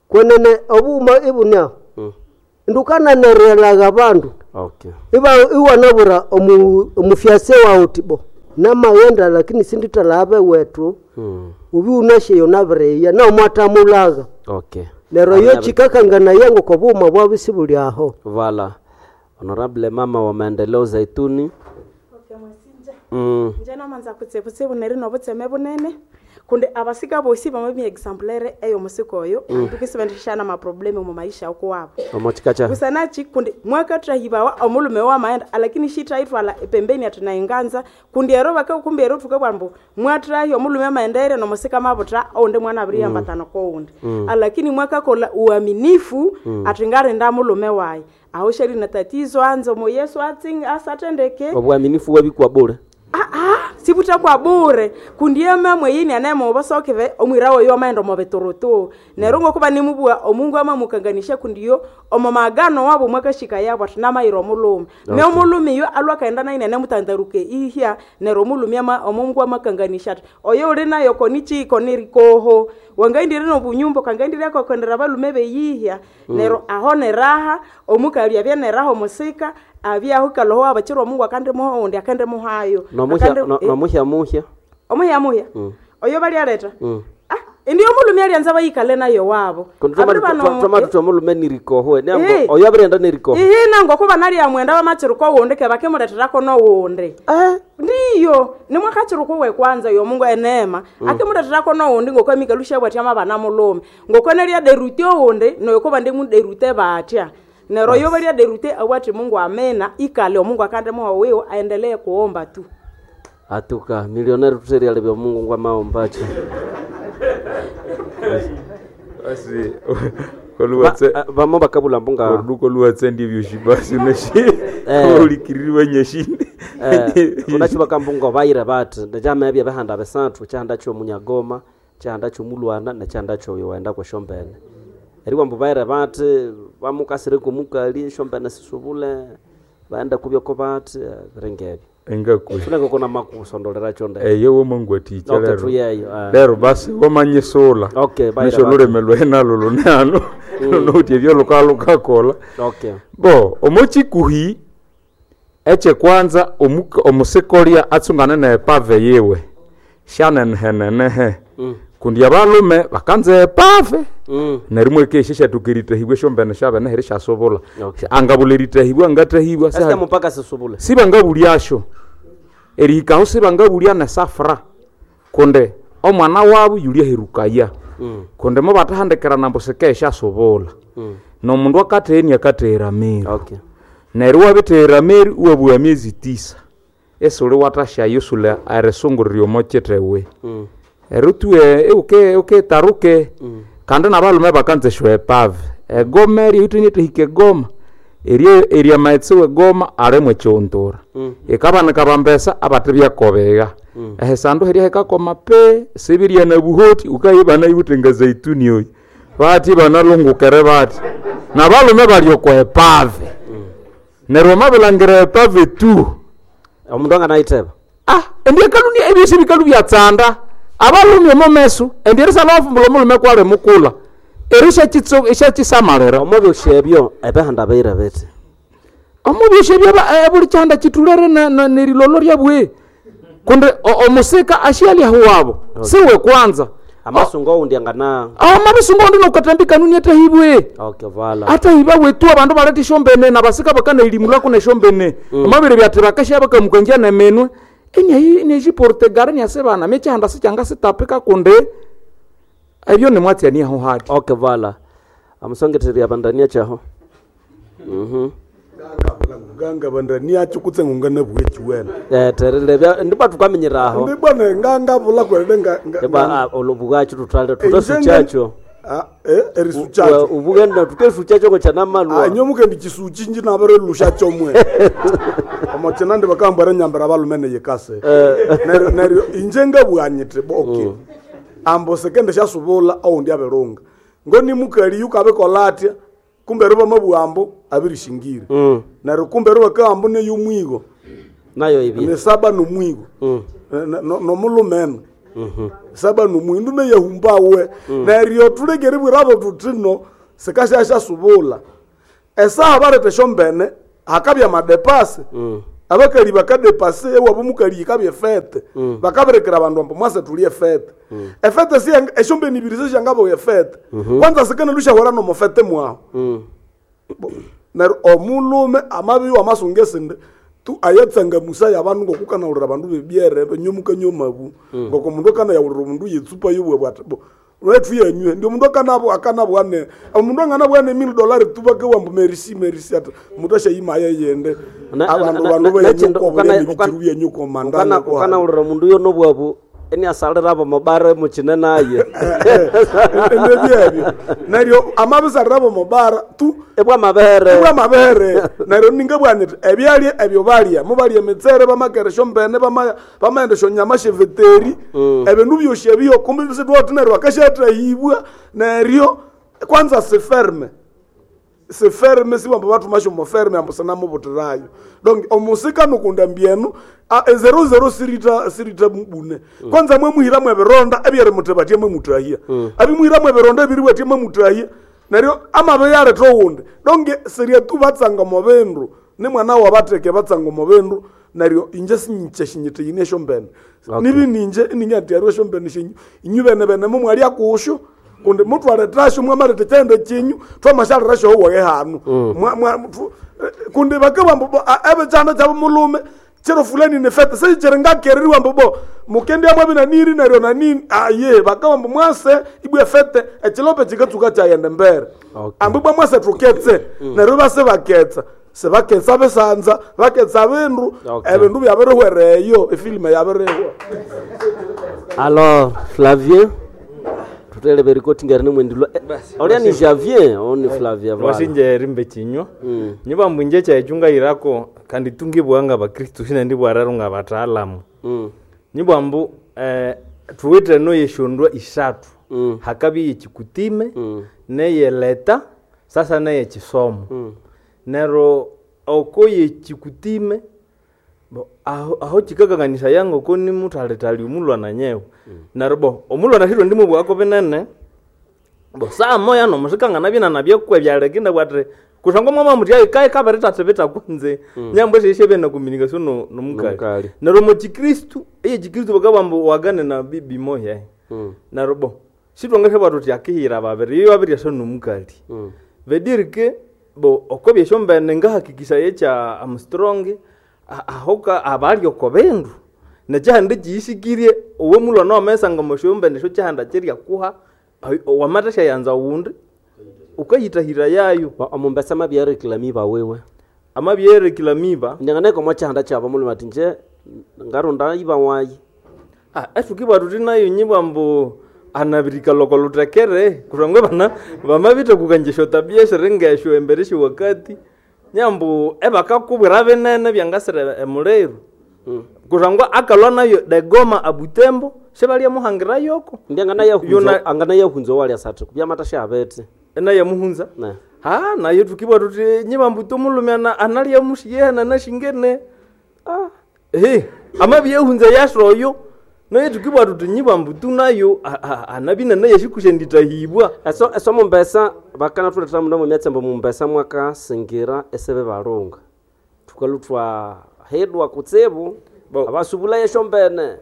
Speaker 9: Kwenene obughuma ibune aho.
Speaker 1: Mm.
Speaker 9: Indi ukananerelagha abandu.
Speaker 1: Okay.
Speaker 9: Iba iwanabura omu omufyase wawu uthi bo namaghenda lakini sindithalha wethu.
Speaker 1: Mm.
Speaker 9: Ubi unasheyo nabireya naomwatamulagha.
Speaker 1: Okay.
Speaker 9: Neryo yo chikakanganaye ngoko obughuma bwabyo sibuli aho.
Speaker 1: Vala. Honorable mama wa maendeleo Zaituni. Mm.
Speaker 6: Nje namanza kutsibutsibu neri nobutseme bunene kundi abasika bosi bamabya exemplaire eyo musika oyo
Speaker 1: Mm.
Speaker 6: tukisibendishana maproblemu mu maisha okuwabo
Speaker 1: Omochikacha.
Speaker 6: kusanachi kundi mwakatrahibawa omulume wamaenda alakini shitaitwala pembeni atinainganza kundi ero bakakumbi ero tukabwa mbu mwatrahi omulume amaendaire nomusika mabutra oundi mwana abiri
Speaker 1: Mm.
Speaker 6: ambatano koundi
Speaker 1: Mm.
Speaker 6: alakini mwakakola uaminifu
Speaker 1: Mm.
Speaker 6: atingarinda mulume wayi aho shali na tatizo anze omo Yesu atsinga asatendeke
Speaker 1: Obwaminifu wabikwa bure.
Speaker 6: sibuta kwa bure kundi emamwe yini anemuobosokeve omwira woyo amaenda omo biturutu neryo ngokuba nimubua omungu amamukanganisha kundiyo omo magano wabo mwakashika yabo ati namayira omulume
Speaker 1: Okay.
Speaker 6: me omulume yo alwa akaenda naine anemutandaruke ihya neryo omulume ama omungu amakanganisha ati oyo uli nayo konichi konirikoho wangaindire nobunyumba kangaindire akakondera balume beyihya
Speaker 1: Mm.
Speaker 6: neryo aho neraha omukali abya neraha omusika abyaho kaloho abachira omungu akandimuha oundi akandimuhayo
Speaker 1: Nomuhya
Speaker 6: Akandi-
Speaker 1: no-
Speaker 6: eh,
Speaker 1: nomuhya muhya.
Speaker 6: omuhya muhya
Speaker 1: Mm.
Speaker 6: oyo balialeta
Speaker 1: Mm.
Speaker 6: indi omulume alianza bayikale nayo wabo
Speaker 1: Kundi
Speaker 6: Abiri bano-
Speaker 1: twamatuta omulume nirikoho.
Speaker 6: Eh.
Speaker 1: Nembo oyo abirenda nirikoho.
Speaker 6: ihi nango kuba nali amwenda bamachiruko wundi ke bakimuleterako nowundi ndiyo nimwakachiruko we kwanza yo mungu enema
Speaker 1: Mm.
Speaker 6: akimuleterako nowundi ngokwamikalusha bwatya mabana mulume ngokwenelia derute owundi noyokuba ndimuderute batya nero yo balia derute awati mungu amena ikale omungu akandimuha wiwo aendelee kuomba tu
Speaker 1: Atuka milioneri tuteria lebya Mungu ngwa maombacho.
Speaker 5: Basi koluwatse
Speaker 1: vamo bakabula mbunga
Speaker 5: korudu koluwatse ndivyo basi uneshi
Speaker 1: Eh.
Speaker 5: ulikiririwe nyeshini
Speaker 1: Eh, unachi bakambunga bayire bati ndachama ebya bihanda bisathu kyahanda kyomunyagoma kyahanda kyomulwana nekyahanda kyoyo waenda kwesyombene eriwambu bayire bati bamukasire komukali esyombene sisubule baenda kubyoko bati eh, biringa ebyo
Speaker 5: engakwe
Speaker 1: funeka kona makusondolera kyonde
Speaker 5: eyo womangwaticha
Speaker 1: Okay,
Speaker 5: lero
Speaker 1: tuyeyo, eh.
Speaker 5: lero basi wamanyisula
Speaker 1: Okay, bayire
Speaker 5: nisho
Speaker 1: bati.
Speaker 5: lulimi lwenalo lunano
Speaker 1: Mm.
Speaker 5: nouti ebyo lukalukakola
Speaker 1: Okay.
Speaker 5: bo omochikuhi echekwanza omuka- omusikolya atsungane neepave yiwe shanenhenenehe
Speaker 1: Mm.
Speaker 5: kundi abalume bakanza epave
Speaker 1: Mm.
Speaker 5: neryo mwekesha syathuka eritahibwa esyombene syabene heri syasubula
Speaker 1: Okay.
Speaker 5: angabula eritahibwa angatahibwa
Speaker 1: Esika mupaka sisubule
Speaker 5: sibangabulyasyo erihikaho sibangabulya nesafra kundi omwana wabu yulyaherukaya
Speaker 1: Mm.
Speaker 5: kundi mubathahandikirana ambu sikesyasubula
Speaker 1: Mm.
Speaker 5: nomundu akatheni akathehera meri
Speaker 1: Okay.
Speaker 5: neryo wabithehera meri iwabugha myezi tisa esuli wathasyayo esuli erisungurira omo kithewe
Speaker 1: Mm.
Speaker 5: eryo tuwe uke uketaruke
Speaker 1: Mm.
Speaker 5: kandi nabalume bakanza esyo epave egoma eryo yithwe hika egoma eryo erya amaghetse wegoma alimu ekyontora
Speaker 1: Mm.
Speaker 5: ikabanika bambesa abathi byakobegha
Speaker 1: Mm.
Speaker 5: ehisandu hirya hikakoma pe sibirya na buhoti ukayibana iwuthe nga zaituni oyi bathi banalungukere bathi nabalume bali okwa epave neryo wamabilangira epave tu
Speaker 1: omundu anganayitheba
Speaker 5: ah endi ekaluni ebyosi bikalu byatsanda abalume omo meso endi erisala wafumbula omulume kwali mukula eri syakitso- syakisamalira
Speaker 1: omwabyosi ebyo ebihanda biyire bithi
Speaker 5: omubyosi ebyo aba- eh, buli kyanda kitulere na- na- nerilolo lyabwe kundi o- omusika ashyalyaho wabo siwe kwanza
Speaker 1: amasungu owundi angana
Speaker 5: amabisungu ondi nokathambi kanuni atahibwe
Speaker 1: okay vala
Speaker 5: atahiba wetu abandu baletha esyombene nabasika bakanailimulako nesyombene
Speaker 1: Mm.
Speaker 5: amabere byathi bakasya bakamukangia neminwe eniayiportegare niasibana mekyihanda sikyanga sitapika kundi ebyo nimwatsya aho hati
Speaker 1: okay vala amusongetheria bandania kyaho mhm
Speaker 20: Nganga bandaniacho kutse ngungana bwechiwena.
Speaker 1: Eh terilebya ndibwa tukamenyeraho.
Speaker 20: Ndibwa ne nganga bula kwende nga
Speaker 1: Eba olubugacho tutale tutasuchacho.
Speaker 20: Ah eh erisuchacho.
Speaker 1: Ubugenda tukesuchacho ko chanamalwa.
Speaker 20: Ah nyomuke ndikisuchi nji nabere lushacho mwe. Omochena ndi bakambara nyambara balumene yekase. Neryo neryo inje ngabwanyite okay. Ambo sekende shasubula oundi aberunga. Ngoni mukali yukabekola atya kumbe ruba mabwambo abirishingire.
Speaker 1: Mm.
Speaker 20: Neryo kumbe ruba kambo ne yumwigo.
Speaker 1: Nayo ibi.
Speaker 20: Ne saba nomwigo.
Speaker 1: Mm.
Speaker 20: Nomulumene.
Speaker 1: Mhm.
Speaker 20: Saba nomwindu ne yahumbawe.
Speaker 1: Mm.
Speaker 20: Neryo tulegere bwirabo tutino sekashasha subula. Esaha barete shombene hakabya madepase.
Speaker 1: Mm.
Speaker 20: Abakali bakadepase ewabo mukali ikabye fete.
Speaker 1: Mm.
Speaker 20: Bakaberekera abandu ambo mwase tulie fete.
Speaker 1: Mm.
Speaker 20: Efete si eshombeni ibiri seshangabo efete.
Speaker 1: Mm -hmm.
Speaker 20: Kwanza sekene lushahora no mofete mwaho.
Speaker 1: Mm.
Speaker 20: Neryo omulume amabi wamasunge sinde tu ayetsanga musa yabandu ngokukanaulira abandu bebyere benyomuka nyomabu.
Speaker 1: Mm.
Speaker 20: Ngoko mundu akana yawulira omundu yetsupa yobwe bwati bo. Lwethu yenywe ndi omundu akanabo akanabwane omundu anganabwane mil dollar tubake wambu merisi merisi ati mundu ashayima yende abandu bandu benyuko byebikiru byenyuko mandana
Speaker 1: ko ukanaulira omundu yo nobwabu eni asalira abo mobara mukine naye
Speaker 20: ndebyebyo neryo amabisarira abo mobara tu
Speaker 1: ebwa mabere
Speaker 20: ebwa mabere neryo ningabwanyiti ebyalya ebyo balya mubalya emitsere bamakeresho mbene bamaendesho nyama sheveteri ebindu byosi ebyo kumbe bisitwati neryo akashathahibwa neryo kwanza siferme siferme siwamba bathumasho moferme ambo sinamubutirayo donc omusika nukunda mbyenu zero zero sirita sirita bune
Speaker 1: Mm.
Speaker 20: kwanza mwemuhira mwebironda ebyeri mutebatie mwemutahia
Speaker 1: Mm.
Speaker 20: abimuhira mwebironda ebiriwatie mwemutahia neryo amabe yareta owundi donc siria tu batsanga mubindu ni mwana wabateke batsanga mubindu neryo inje sinyinje shinyite yine esyombene
Speaker 1: Okay.
Speaker 20: nibi ninje ininyatyarwa esyombene shenyu inyu bene bene mumwalya kusho kundi mutwaletasho mwamaleta kyendo kinyu twamashalirasho owaye hanu
Speaker 1: Mm.
Speaker 20: Mwa- mwa- tu- kundi bakabambo ebikyanda kyabo mulume chiro fulani ni fete sekyiri ngakereriwa mbu bo mukendi amwe binaniri neryo nanini aye bakabambo mwase ibwe fete ekilope kikatsuka kyayenda mbere
Speaker 1: Okay.
Speaker 20: ambu bwa mwase tuketse
Speaker 1: Mm.
Speaker 20: neryo base baketsa sebaketsa bisanza baketsa bindu
Speaker 1: Okay.
Speaker 20: ebindu byabirihwereyo efilime yabirihwa
Speaker 1: Alors Flavien tutelebe rikoti ngari nimwendilwa olia ni Javier oni Flavien voilà.
Speaker 2: Wasinje rimbe chinywa nyuba mbwinje chaichunga irako kandi tungibwanga bakristu sina ndibwararo nga bataalamu
Speaker 1: Mm.
Speaker 2: nyibwa mbu eh, tuwite no yeshondwa isatu
Speaker 1: Mm.
Speaker 2: hakabi yechikutime
Speaker 1: Mm.
Speaker 2: neyeleta sasa neyechisomo
Speaker 1: Mm.
Speaker 2: nero oko yechikutime bo aho, aho chikakanganisa yango ko ni mutalitali omulwana nyewe mm. nero bo omulwana shiro ndimo bwako binene bo saa moya nomusikangana byena byekwe byalekinde bwati kusangwa mwama muti ayi kayi kabere tatebeta kunze
Speaker 1: Mm.
Speaker 2: nyambo sheshe bena communication no nomukali
Speaker 1: Nomukali.
Speaker 2: nero mu chikristu iye chikristu bakabambo wagane na bibi moya
Speaker 1: Mm.
Speaker 2: nero bo sitwangashe bwatu ti akihira babiri iyo babiri asa nomukali
Speaker 1: Mm.
Speaker 2: vedirike bo okobyesho mbene ngahakikisha yecha Armstrong a- ahoka abalyo kobendu nekyihanda kiyisikirie owe mulwana wamesanga moshombene sho kyihanda kyerya kuha wamathasya yanza wundi ukayithahira yayo
Speaker 1: omumbesa amabyerekilamiba wewe
Speaker 2: amabyerekilamiba
Speaker 1: nyanganeko mwakyihanda kyabo mulima ati nje ngarunda iba wayi
Speaker 2: Ah, etukibwa tuti nayo nyibwa mbu anabirika loko lutekere kusangwa bana bamabitha kukanjesha tabia eshiringesho embere wakati nyambu ebakakubwira binene byangasira emuliru kusangwa akalwa nayo degoma abutembo sibalya muhangira yoko
Speaker 1: ndi angana angana yahunza walya sati kubyamata shabete
Speaker 2: enayamuhunza
Speaker 1: ne
Speaker 2: ha nayo tukibwa tuti nyibambu tumulume ana- analya mushiyena nashingene ah. he amabyehunza yashoyo naye tukibwa tuti nyibambu tunayo anabina naye shikushenditahibwa
Speaker 1: eso eso mumbesa bakana thuletera muno mumyatsembo mumbesa mwakasingira esebe balunga thukalutwa hedwa kutsibu abasubula yeshombene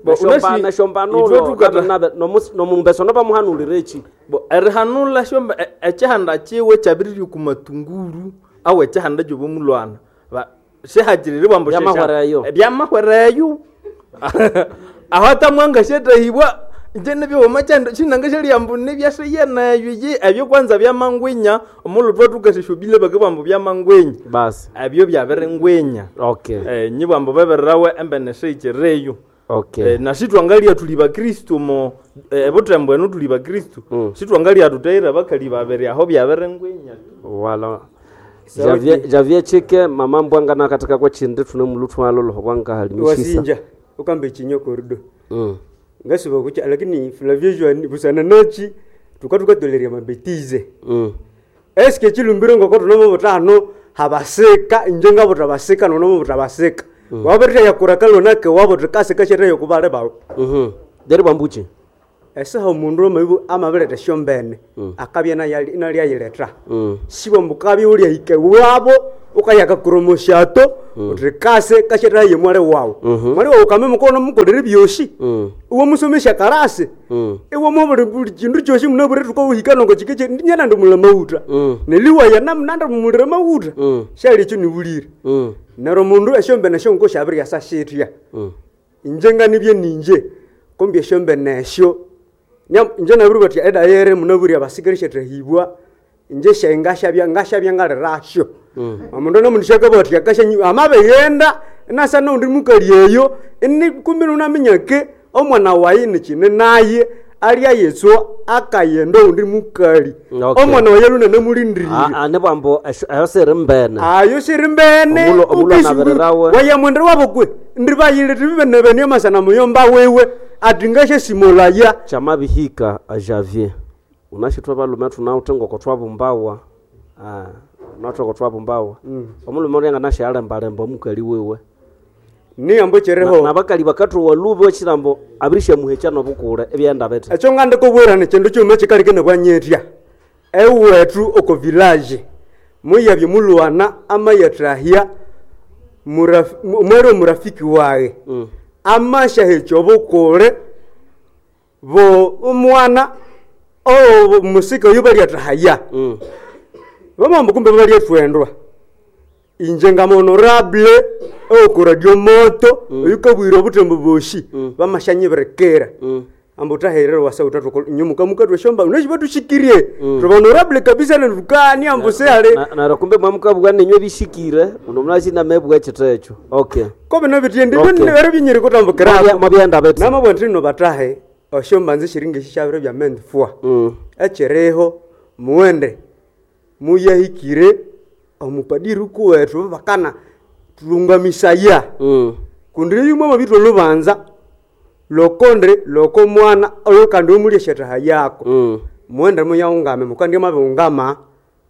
Speaker 2: Bo, unasi- itwe
Speaker 1: neshombanulo
Speaker 2: tukata-
Speaker 1: nomumbesa nobamuhanulire
Speaker 2: bo erihanula shomba e- ekyihanda kyiwe kyabiriri kumatunguru awe ekyihanda kyobomulwana Ba- sihakiriri bwambu
Speaker 1: Byamahwereyo.
Speaker 2: byamahwereyo aho atamwanga shetahibwa Nje nebyoma kyando chinanga shalyambu nebyashiyeneyo ye ebyo kwanza byamangwinya omulhu twatukashishobile bakabwambu byamangwinya
Speaker 1: basi
Speaker 2: ebyo byabiringwinya
Speaker 1: okay
Speaker 2: eh nyibwambu bebererawe embene sheikireyo
Speaker 1: okay
Speaker 2: eh, na sitwangalia tuli bakristu mo eh, butembo enu tuli bakristu mm. sitwangalia tutaira bakali babiri aho byabiringwinya
Speaker 1: wala Javier Javier Chike mama mbwanga na katika kwa chindi tune mulutwalo lohwanga halimishisa
Speaker 8: wasinja ukambe chinyo korido
Speaker 1: mm.
Speaker 8: ngasuba kucha lakini Flavio Joan busana nachi tukatuka mabetize
Speaker 1: mm.
Speaker 8: eske chilumbiro ngoko tunomo butano habaseka inje ngabo tabaseka nonomo butabaseka mm. wabirira yakura kalonake wabo tikaseka chere yokubale bawo
Speaker 1: mhm deri bambuchi
Speaker 8: esaha omundu omaibu amabireta esyombene
Speaker 1: mm.
Speaker 8: akabya nayali- inalyayileta
Speaker 1: mm.
Speaker 8: siba mbukabi ulyahika wabo ukayakakuromoshato
Speaker 1: Mm.
Speaker 8: uti kase kasheteraye mwale wawu
Speaker 1: Mhm.
Speaker 8: mwale wawu kame mukono mukolere byosi
Speaker 1: mm.
Speaker 8: iwe musomesha karasi
Speaker 1: mm.
Speaker 8: iwe mubuli buli chindu chosi munabure tukauhika nongo chikeche ndinyana ndimula mauta
Speaker 1: mm.
Speaker 8: neliwaya nanda mumulira mauta
Speaker 1: mm.
Speaker 8: shali echo niwulire
Speaker 1: mm.
Speaker 8: nero mundu esyombene syonko syabirya shitya
Speaker 1: mm.
Speaker 8: inje nganibye ninje kumbi esyombene esyo Nya- inje nabiri batya edayere munaburi abasigari shetahibwa inje shenga shabya ngashabya ngalirasyo
Speaker 1: mm.
Speaker 8: omundu nomundu shakabatya kashanyi amabeghenda nasa noundi mukali eyo ini kumbi nunaminya ke omwana wayi nikine naye alya yetswa akayenda oundi mukali
Speaker 1: Okay.
Speaker 8: omwana wayi lunanamulindiriire
Speaker 1: Ah, ah, nibwambo eyo siri mbene
Speaker 8: ayo siri mbene
Speaker 1: Omulo- omulo
Speaker 8: ukisi-
Speaker 1: anabererawe.
Speaker 8: wayamwendera wabo kwe ndi bayile tibibenebene amasana muyomba wewe ati ngashasimolaya
Speaker 1: chamabihika a Javier unashitwa balume tunawuthe ngoko twabumbawa ah unawuthe ngoko twabumbawa
Speaker 8: Mm.
Speaker 1: omulume ulya nganashalembalemba omukali wiwe
Speaker 8: niyambo chereho
Speaker 1: nabakali bakathuwa lubi wechilambo abirishamuhecha nobukule ebyenda bithi
Speaker 8: ekyo ngandikubwira chindu kyuma kyikalike nabwanyetya ewethu oko village muyabye mulwana amayathahya muraf- mu- mwere omurafiki waye
Speaker 1: Mm.
Speaker 8: amashahekya obukule bo omwana owo musika oyo balyathahaya
Speaker 1: Mm.
Speaker 8: bamambu kumbe balyathwendwa inje ngamonorable okuradio moto oyukabwira obutembo boshi bamashanyibirikira amba utaherere wasa utatu nyomuka mukatwa shomba unachiba tushikirie tuba kabisa nentukani ambu sehale
Speaker 1: Na- neryo kumbe mwamukabugha ninywe bishikire muno munasina mebugha ekitho ekyo okay
Speaker 8: kobe nabitiye
Speaker 1: Okay.
Speaker 8: ndibere binyiri
Speaker 1: Mwabya-
Speaker 8: kutambukirako
Speaker 1: mwabyenda bithi
Speaker 8: namabwa nti nno batahe oshomba nze shiringi shishabire bya mendifua
Speaker 1: Mm.
Speaker 8: ekyiriho muwende muyahikire omupadiri kuwethu bakana tulungamisaya
Speaker 1: Mm.
Speaker 8: kundi yumwe mabitwa olubanza lokondre loko mwana oyo kandi omulya eshetaha yako
Speaker 1: Mm.
Speaker 8: muwende muyaungame mukandi mabiungama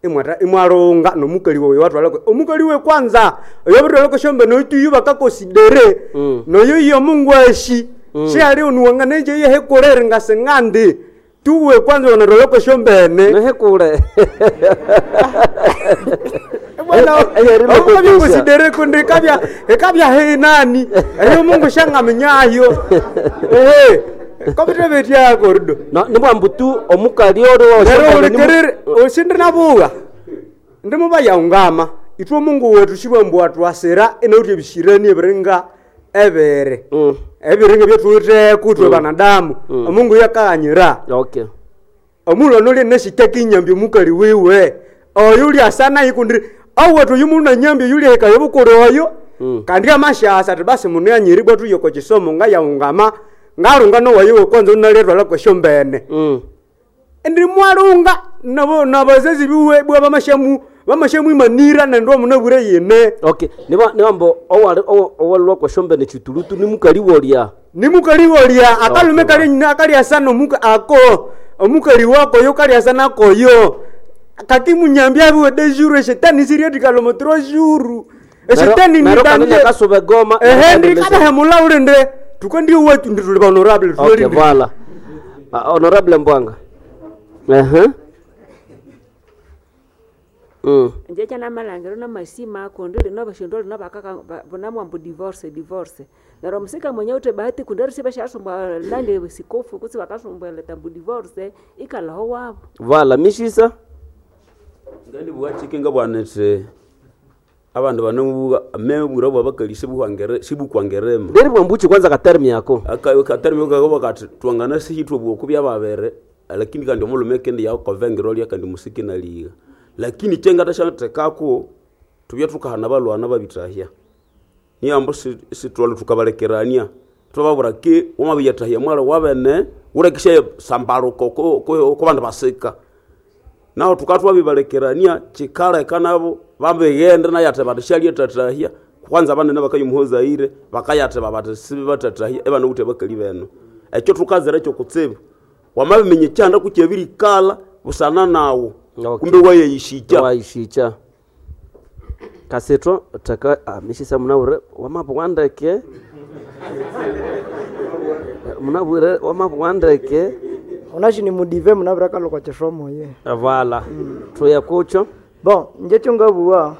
Speaker 8: imwata imwalunga nomukali wawe watwalako omukali we kwanza oyo bitwalako shombe noituyu bakakosidere
Speaker 1: Mm.
Speaker 8: noyo iyo mungu ashi
Speaker 1: Mm.
Speaker 8: shali onuwanga nenje yehekolere ngasengandi tuwe kwanza wanatwalako shombene
Speaker 1: nehekule Eh, eh,
Speaker 8: bikosidere kundi kabya ekabya heinani eyo mungu shangamenyayo ehe kobitebetyako rudo
Speaker 1: No, nibwambu tu omukali ori
Speaker 8: Nero ulikerere osindi nabuga ndimuba yaungama itwe mungu wetu shibwambu atwasira inauti ebishirani ebiringa ebere ebiringa byethuwitheko ithwe
Speaker 1: Mm.
Speaker 8: banadamu
Speaker 1: Mm.
Speaker 8: omungu yakaghanyira
Speaker 1: okay
Speaker 8: omulhu ono ulya nashikya kinyambi omukali wiwe oyo ulyasa naye kundi awethu oyu munu nanyambi oyu ulyahikayo obukuli oyo
Speaker 1: Mm.
Speaker 8: kandi amashasa ati basi munu yanyiribwa thuye oko kisomo ngayaungama ngalunga nowayo wekwanza unalyetwala kwesyombene
Speaker 1: Mm.
Speaker 8: ndi mwalunga nabo nabazazi biwe bwa bamashamu bamashamwimanira nendwa munabwire yine
Speaker 1: okay niba nibambo owali owa- owalwa kweshombene chitulutu nimukali wolya
Speaker 8: nimukali wolya akalume kali nyina akalyasa nomuka ako omukali wako yo kalyasa nakoyo kaki munyambi abiwe de jour eshetani siryetikalomo trois jours eshetani
Speaker 1: Nero- nero kanene kasuba egoma
Speaker 8: ehe ndikabahemula ulinde tukandiyo wetu ndi tuli honorable
Speaker 1: okay voilà Ah, honorable mbwanga ehe mm.
Speaker 10: nje chanamalangiro namasima kundi lino bashindu lino bakaka bunamwambu divorce divorce nero musika mwenye ute bahati kundi risi bashasumbwa nandi sikofu kutsi bakasumbwa tambu divorce ikalaho wabo
Speaker 1: voilà mishisa
Speaker 4: ngandibwachike ngabwanete Abandu banamubuga mebwira bwa bakali sibuhangere sibukwangerema.
Speaker 1: Nderi bwambuchi kwanza katermi yako.
Speaker 4: Aka katermi yako bakati twangana sihitwe bwoku byababere lakini kandi omulume kendi yakovengero lya kandi musiki naliga. Lakini chenga tashatekako tubye tukahana balwana babitahya. Niyambo sitwalo tukabalekerania. Twababura ke wamabiyatahya mwala wabene urekisha sambaruko ko ko bandu basika. Naho tukatwa bibalekerania chikaleka nabo bambegende nayate batishali tatahya kwanza abanene bakayumuhoza ire bakayate babate sibe batatahya ebana ute bakali beno ekyo tukazera ekyo kutsibu wamabimenye kyanda kukyebirikala busana nawo
Speaker 1: okay.
Speaker 4: Kumbe wayeyishicha
Speaker 1: wayishicha kaseto taka ah, mishisa munawure wamapo wandeke munawure wamapo wandeke
Speaker 23: unashi ni mudive munabira kalokwa chisomo ye
Speaker 1: vala mm. Tuya kucho
Speaker 23: bon nje chungabuwa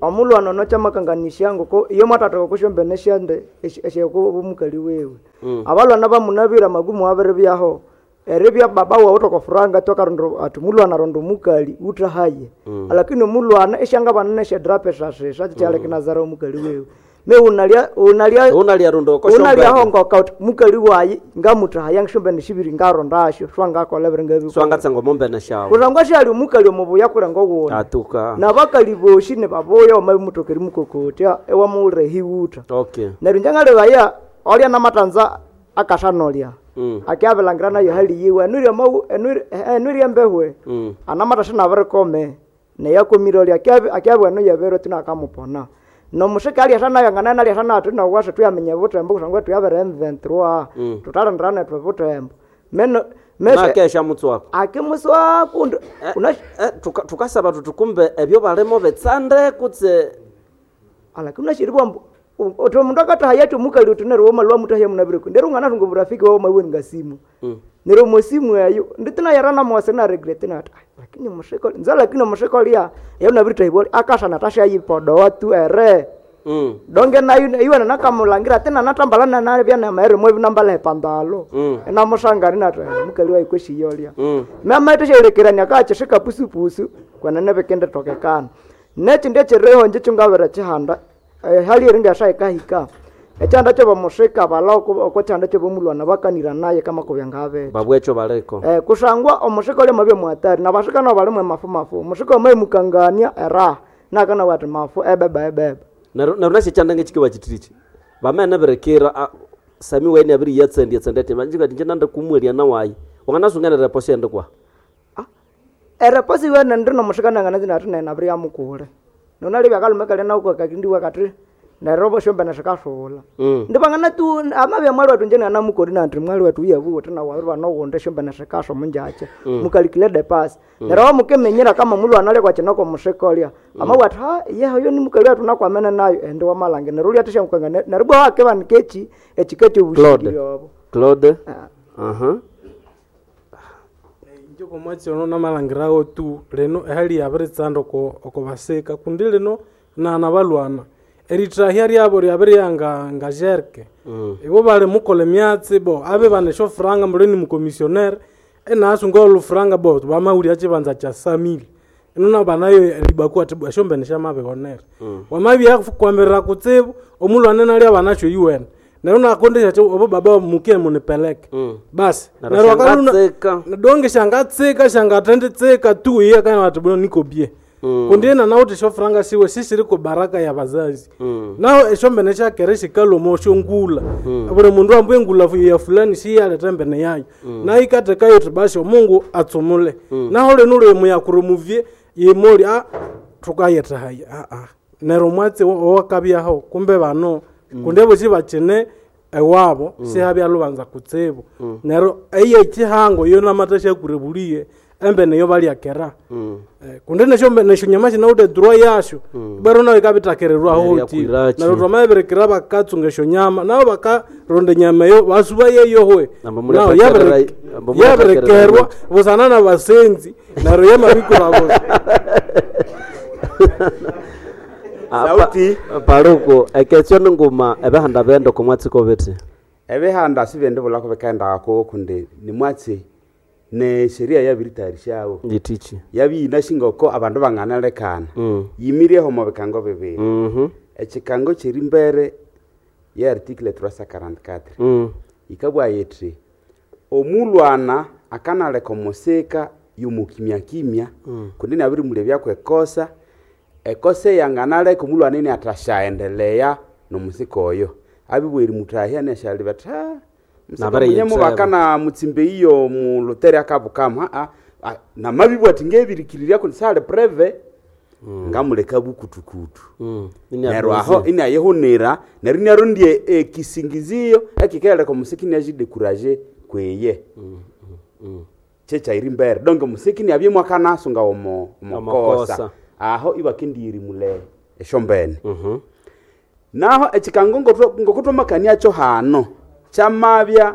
Speaker 23: omulwana ono chamakanganisha ngoko iyo mwatatoka kushombene shande esheko omukali wewe mm. Abalwana bamunabira magumu abere byaho eribya baba wawe tokofuranga tokarondo ati mulwana rondo mukali utahaye mm. Lakini omulwana eshanga banene shedrape sasesa chale mm. Kinazara omukali wewe me unalia unalia
Speaker 1: unalia rondo ko
Speaker 23: unalia hongo ka mukali wayi ngamutahaya ngishombe nishibiri ngarondasho swangakola biringa
Speaker 1: swangatsengo mombe na shawo
Speaker 23: kurangwa shali mukali omubuya kuranga wona
Speaker 1: atuka
Speaker 23: nabakali boshi ne baboya omabimutokeri mukokotya ewamuure hiwuta
Speaker 1: okay
Speaker 23: neryo njangalebaya olya namatanza akashanolya mm. Akiabilangira nayo hali yiwe enuri mau enuri enuri embehwe mm. Anamatasha nabirikome neyakomire olya akiabi akiabi eno yebero tinakamupona nomushika aliasha nayo ngana naliasha nayo tunawasha tuyamenya butembo kusangwa tuyabere M twenty-three mm. Tutalonderana twe butembo meno
Speaker 1: mese nakesha mutswako
Speaker 23: akimuswaku
Speaker 1: eh, una eh, tukasaba tuka tukumbe ebyo balemo betsande kutse
Speaker 23: alakini unashiribwa oto mundu akatahaya mukali utunero woma mutahya munabireko ndero ngana tungo burafiki wao mawe ngasimu mm. Nero mosimu ayo nditina yarana mwase na regret na lakini mushiko nza lakini mushiko lia ya unabirita hiboli akasha natasha yipodo watu ere mm. Donge nayo iwe nakamulangira tena natambalana na bya na maere mwe binambala epandalo mm. Na mushangari na mukali wa ikweshi yolia mm. Mama itesherekerania kachishika pusu pusu kwana nebekende tokekana nechi ndechereho nje chungabera chihanda eh, hali eringa shaikahika echanda kyo bamushika bala oko chanda kyo bomulwana bakanira naye kama kubyangabe
Speaker 1: babwecho baleko
Speaker 23: eh kusangwa omushika ole mabye muhatari nabashika no balimwe mafu mafu omushika omwe mukangania era nakana wati mafu ebeba ebeba
Speaker 1: naru naru chanda ngechikiwa chitirichi bamene berekera sami wene abiri yatsendi yatsendete manjika tinje nande kumwelia nawayi wanganasungana reposi endekwa
Speaker 23: ah ereposi wene ndino mushika nangana zinatine nabiri yamukule nonali byakalume kali nauko kakindi wakati nerobo shombe nashikasula mm. Ndibangana tu amabya mwali watu njena namukori na ndri mwali watu yabu tena waruba no wonde shombe nashikasho munjache mm. Mukalikile de pass mm. Nero mukemenyera kama mulu anale kwa chinoko mushikolia mm. Ama watu ha ye hoyo ni mukali watu nakwamena nayo ende wamalange neruli atisha mukanga nerubwa wake banikechi echikechi
Speaker 1: ubushikiri obo Claude ah. Aha
Speaker 3: njoko mwatsi ono namalangirawo tu leno ehali yabiritsanda oko oko baseka kundi lino nana balwana eritrahya ryabo ryabirya nga jerke mm. Ibo bali mukola emyatsi bo abe banesho franga muleni mukomissionnaire enasunga olufranga bo bamahulya chibanza cha samili enona banayo libaku ati bwashombe shamabihonera mm. Wamabya kwambirira kutsibu omulwana nalya banasho yuwene neryo nakondesha cho obo baba mukie munipeleke mm. Basi
Speaker 1: neryo akaluna
Speaker 3: donge shangatsika shangatendetsika tu iye kana wati bino niko bie mm. Kundi na nauti shofranga siwe sisiri ko baraka ya bazazi mm. Naho eshombene shakere shikalomo shongula mm. Buri mundu ambuye ngula ya fulani siyaleta mbene yayo mm. Na ikatekayo tibasho Mungu atsumule mm. Naho leno lwe yakurumuvye yemoli a tukayeta haya a a nero mwatsi owakabyaho kumbe bano mm. Kundi boshi bachene ewabo mm. Sihabya lubanza kutsibu mm. Nero eye chihango yo namatasha kurebuliye embe neyo balyakera mm. Eh, kundi nesho nesho nyama shina droit yasho mm. Bero nayo ikabitakererwa hoti nero twamaberekera bakatsunga esho nyama nabo bakaronda nyama yo basuba yeyohwe nao yaberekerwa busana na basenzi nero yamabikura bose
Speaker 1: Sauti paruko eketsyo nguma ebehanda bendo komwatsiko bete
Speaker 15: ebehanda sibende bulako bekaenda ko kundi ni mwatsi
Speaker 4: Ne sheria yabiritayarishawo
Speaker 1: yitichi
Speaker 4: yabiyinashingoko abandu banganalekana
Speaker 1: Mm.
Speaker 4: yimireho omo bikango bibiri
Speaker 1: Mhm.
Speaker 4: ekikango kyeri mbere ye article trois cent quarante-quatre
Speaker 1: Mm.
Speaker 4: yikabwa yithi omulwana akanaleka omusika yomukimya-kimya
Speaker 1: Mm.
Speaker 4: kundi nabirimulebyaku ekosa ekosa eyanganaleka omulwana ini athasyaendelea nomusika oyo abibwa erimutahya nesyalibya athi "Ah, musika
Speaker 1: Nabere
Speaker 4: munye
Speaker 1: yitseba."
Speaker 4: mubakana mutsimba eyiyo mulutere akabukamu aa ah, namabibwa athi ngebirikirirya kundi sali preve ngamuleka bukutukutu
Speaker 1: Mm.
Speaker 4: neryo aho inayihunira neryo inarondya ekisingizio ekikehereka omusiki inyagyidekuraje kweye kyekyairi mbere donc omusiki niabye mwakanasunga omo
Speaker 1: Omokosa.
Speaker 4: omokosa aho ibakendiyirimule esyombene naho ekikango ngotwa- ngokutwamakaniakyo hano kyamabya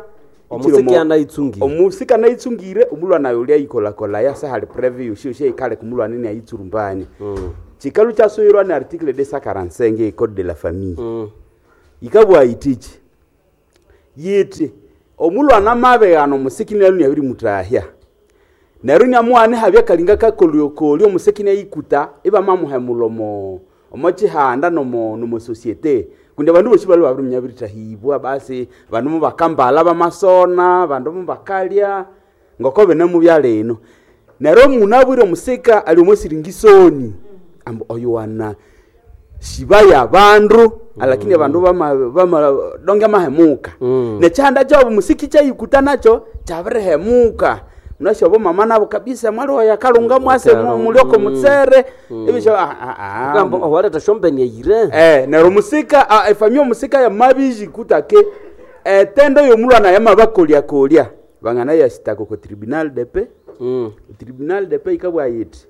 Speaker 1: Omusiki
Speaker 4: ikiri omo-
Speaker 1: anayitsungire.
Speaker 4: omusiki anayitsungire omulwana oyo lyayikolakolaya sehali preve yosi yosi eyikaleka omulwana inayitsurumbania kikalu kyasuyirwa ni article deux cent quarante-cinq ye code de la famille yikabugha yitichi yiti omulwana amabighana omusiki nyalu nyabirimutahya neryo inyamughana ihabya akalinga kakolyokolyo omusiki inayikuta ibamamuhemula omo omo kihanda nomo nomo societe kundi abandu bosi balwe babiriminya biritahibwa basi bandu mubakambala bamasona bandu mubakalya ngoko binemubya lino neryo omunabwire omusika ali omosiringisoni ambu oyo wana shibaya abandu alakini abandu bama bama donge mahemuka nechihanda kyabo musiki kyayikuta nakyo kyabirihemuka munasyobo mama nabo kabisa mwali oyo akalunga mwase
Speaker 1: Akalunga,
Speaker 4: mulyoko
Speaker 1: mm.
Speaker 4: mutsere
Speaker 1: Mm.
Speaker 4: ebisyo ah, ah, ah.
Speaker 1: Kugamba owaletha shombeni eyire
Speaker 4: Eh, neryo musika ah, efamia omusika yamabijikuta ke etendo yomulwana yamabakolyakolya bangana yasitaka oko tribunal de paix
Speaker 1: mm.
Speaker 4: tribunal de paix ikabwa yiti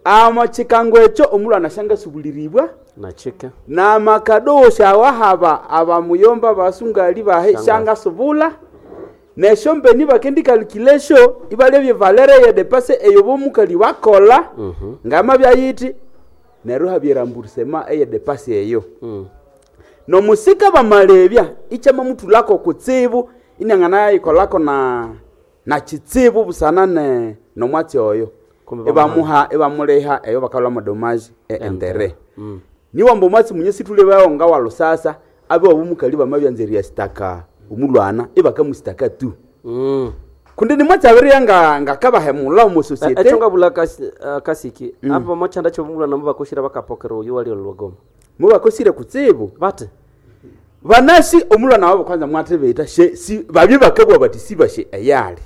Speaker 4: amo kikango ekyo omulwana syangasubuliribwa
Speaker 1: nachike
Speaker 4: namakadosha awahaba abamuyomba basungali bahe
Speaker 1: Shanga.
Speaker 4: shangasubula nesyombeni bakendikalukilesyo ibalebye valere yedepase eyo bomukali bakola
Speaker 1: Mhm.
Speaker 4: ngama byayiti neryo habyerambusema eyedepase eyo
Speaker 1: Mm.
Speaker 4: nomusika bamalebya ikyamamutulako kutsibu inangana yayikolako na na kitsibu busana ne nomwatsi oyo
Speaker 1: Kumbe
Speaker 4: ibamuha ibamuliha eyo bakalwa madomaji e entere
Speaker 1: Mm.
Speaker 4: niwamba omwatsi munye situlebawo nga walusasa abe wabumukali bamabyanzerya sitaka omulwana ibakamusitaka tu
Speaker 1: Mm.
Speaker 4: kundi nimwatsi abiriya nga ngakabahemula omu societe
Speaker 1: ekyo ngabula kasi- eh, kasiki
Speaker 4: Mm.
Speaker 1: apa mochanda kyobumulwana mubakoshire bakapokera oyo wali olwagoma
Speaker 4: mubakosire kutsibu
Speaker 1: bate
Speaker 4: banasi omulwana wabo kwanza mwatibita she si babye bakabwa bati sibashe eyali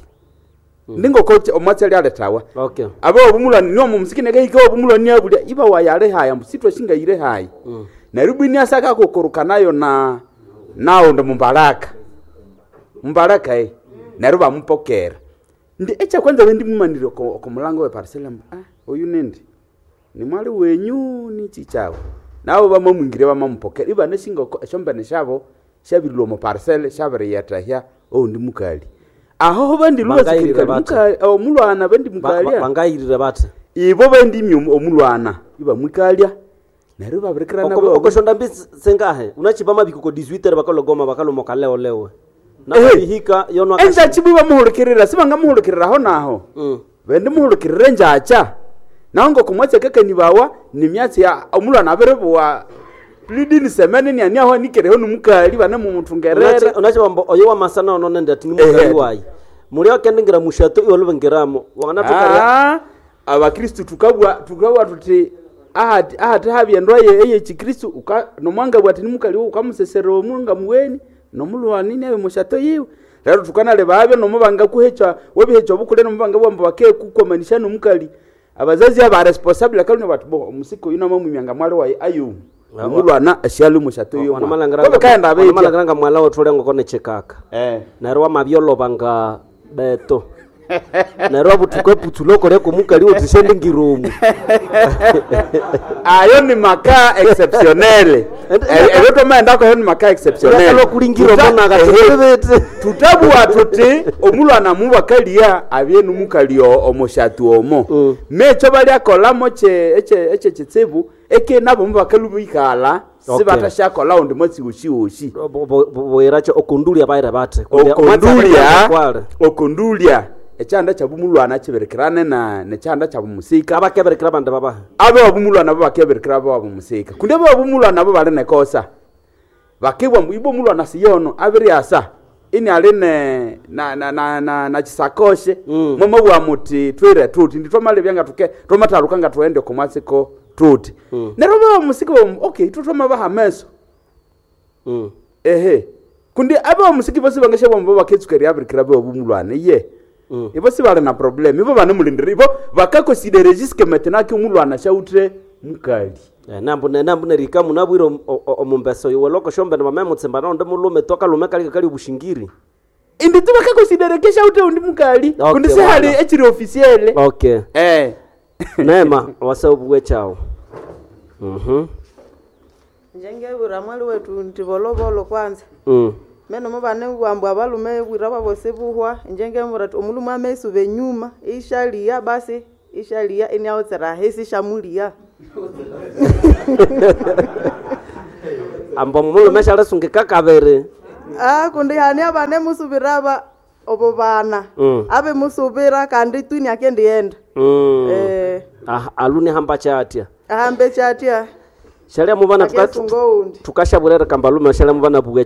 Speaker 4: ndingoko omwatsi ali aletawa
Speaker 1: okay
Speaker 4: abe obumulwana niwo mumusiki nekahika obumulwana niabulya iba wayale haya mbu sitwashingayire haya
Speaker 1: Mm.
Speaker 4: neryo bwini asakakukurukanayo na naundi mumbalaka mumbalaka e neryo bamupokera ndi ekyakwanza bendimumanire oko oko mulango weparisela mbu ah oyu nindi nimwali wenyu nichi kyawe nabo bamamwingire bamamupokera ibanashinga oko esyombene syabo syabirilwa omu parisele syabiriyethahya oundi mukali aho
Speaker 1: Bangayirire bate.
Speaker 4: bandi omulwana bendi
Speaker 1: Ba- ba-
Speaker 4: mukalya
Speaker 1: bangayirire bate
Speaker 4: ibo bendimya omulwana ibamwikalya neryo babirikirana
Speaker 1: Oko- okoshonda mbi sengahe unachipa mabiko ko dix-huit bakalogoma bakalomoka leo lewe nabihika yono
Speaker 4: enjachi bwe bamuhulukirira sibangamuhulukiriraho naho
Speaker 1: Mm.
Speaker 4: bendi muhulukirira enjacha naho ngokumwatsi akakanibawa nimyatsi ya omulwana abiribuwa plidini semene nianiaho anikereho nimukali banemumuthungerera
Speaker 1: unachibamba oyo wamasana ono nende ati nimukali
Speaker 4: Ehe.
Speaker 1: wayi muli akendingira mushato iwe lubengiramo wanganathukaria
Speaker 4: Ah, abakristu tukabwa tukabwa tuti ahati ahati habyendwa ye eyekikristu uka nomwangabwa ati nimukali wo ukamusesera omunga muweni nomulwani nabe mushato yiwe rero tukanaleba abyo nomubanga kuhecha webihecha obukule nomubanga bwamba bakekukwamanisha nomukali abazazi aba responsible akalino bati bo omusiko yuno mamwimyanga mwali wayi ayo omulwana asyali mushato yiwe kaenda abeitya
Speaker 1: wanamalangiranga mwala wethu ngoko nechikaka
Speaker 4: eh
Speaker 1: neryo wamabyolobanga beto neryo wabuthuka eputsu lokoleko mukali uthi shendingiromu
Speaker 4: ayo ni makaa exceptionnel ebyo twamaendako ayo ni makaa exceptionnel
Speaker 1: Ulakala okulingira
Speaker 4: Tuta-
Speaker 1: omona kati
Speaker 4: ehe.
Speaker 1: bebete.
Speaker 4: tutabua tuti omulwana mubakalia abye numukali o- omushatu omo mekyo balyakolamo kye ekye ekye kitsibu eke nabo mubakalu bikala
Speaker 1: Okay.
Speaker 4: sibatashakola undi mwatsi woshi
Speaker 1: bwiracho okondulia baire bate
Speaker 4: okondulia okondulia ekyanda kyabumulwana kibirikirane na nekyanda kyabumusika
Speaker 1: Abakebirikira bandi babaha
Speaker 4: abe wabumulwana bo bakebirikira abe wabumusika kundi abe wabumulwana bo bali nekosa bakibwa mbu ibo mulwana siyono abiriasa ini ali ne na na na na, na chisakoshe mm. mwamabwa muti twire tuti ndi twamalebya nga tuke twamathaluka nga tuende komwasiko tuti mm. neryo baba musika bamu okay itwe twamabaha ameso
Speaker 1: mm.
Speaker 4: ehe kundi abe bamusiki bosi bangashabwa mbu baketsuka eryabirikira abe wabumulwana iye mm. ibo sibali na problem ibo banemulindira ibo bakakonsidere jusque maintenant ke omulwana shawuthe mukali
Speaker 1: Eh, nambu nambu nerika munabwire om- o- o- omumbeso iwe loko shombene bamemutsimba naundi mulume twakalume kali kali obushingiri
Speaker 4: indi tu bakakonsidere ke shawuthe undi mukali
Speaker 1: Okay,
Speaker 4: kundi sihali
Speaker 1: bwana.
Speaker 4: ekiri officiel
Speaker 1: okay
Speaker 4: eh
Speaker 1: neema wasaubuwe chawo mhm
Speaker 11: njengebwira mwali wetu nti volovolo kwanza
Speaker 1: mm.
Speaker 11: meno mubane bwambu abalume bwira babosi buhwa njengemura ti omulume ameisuba enyuma ishalia basi ishalia iniautsira hesi ishamulia
Speaker 1: ambo mulume shalisungika kabiri
Speaker 11: ah kundi hani abane musubira aba obo bana
Speaker 1: Mm.
Speaker 11: abe musubira kandi twini akendienda
Speaker 1: mm.
Speaker 11: eh
Speaker 1: ah, aluni hamba chatya
Speaker 11: ahambe chatya
Speaker 1: shalia mubana tuka-
Speaker 11: akesunga oundi
Speaker 1: tukashabulere kamba lume shalia mubana bugwe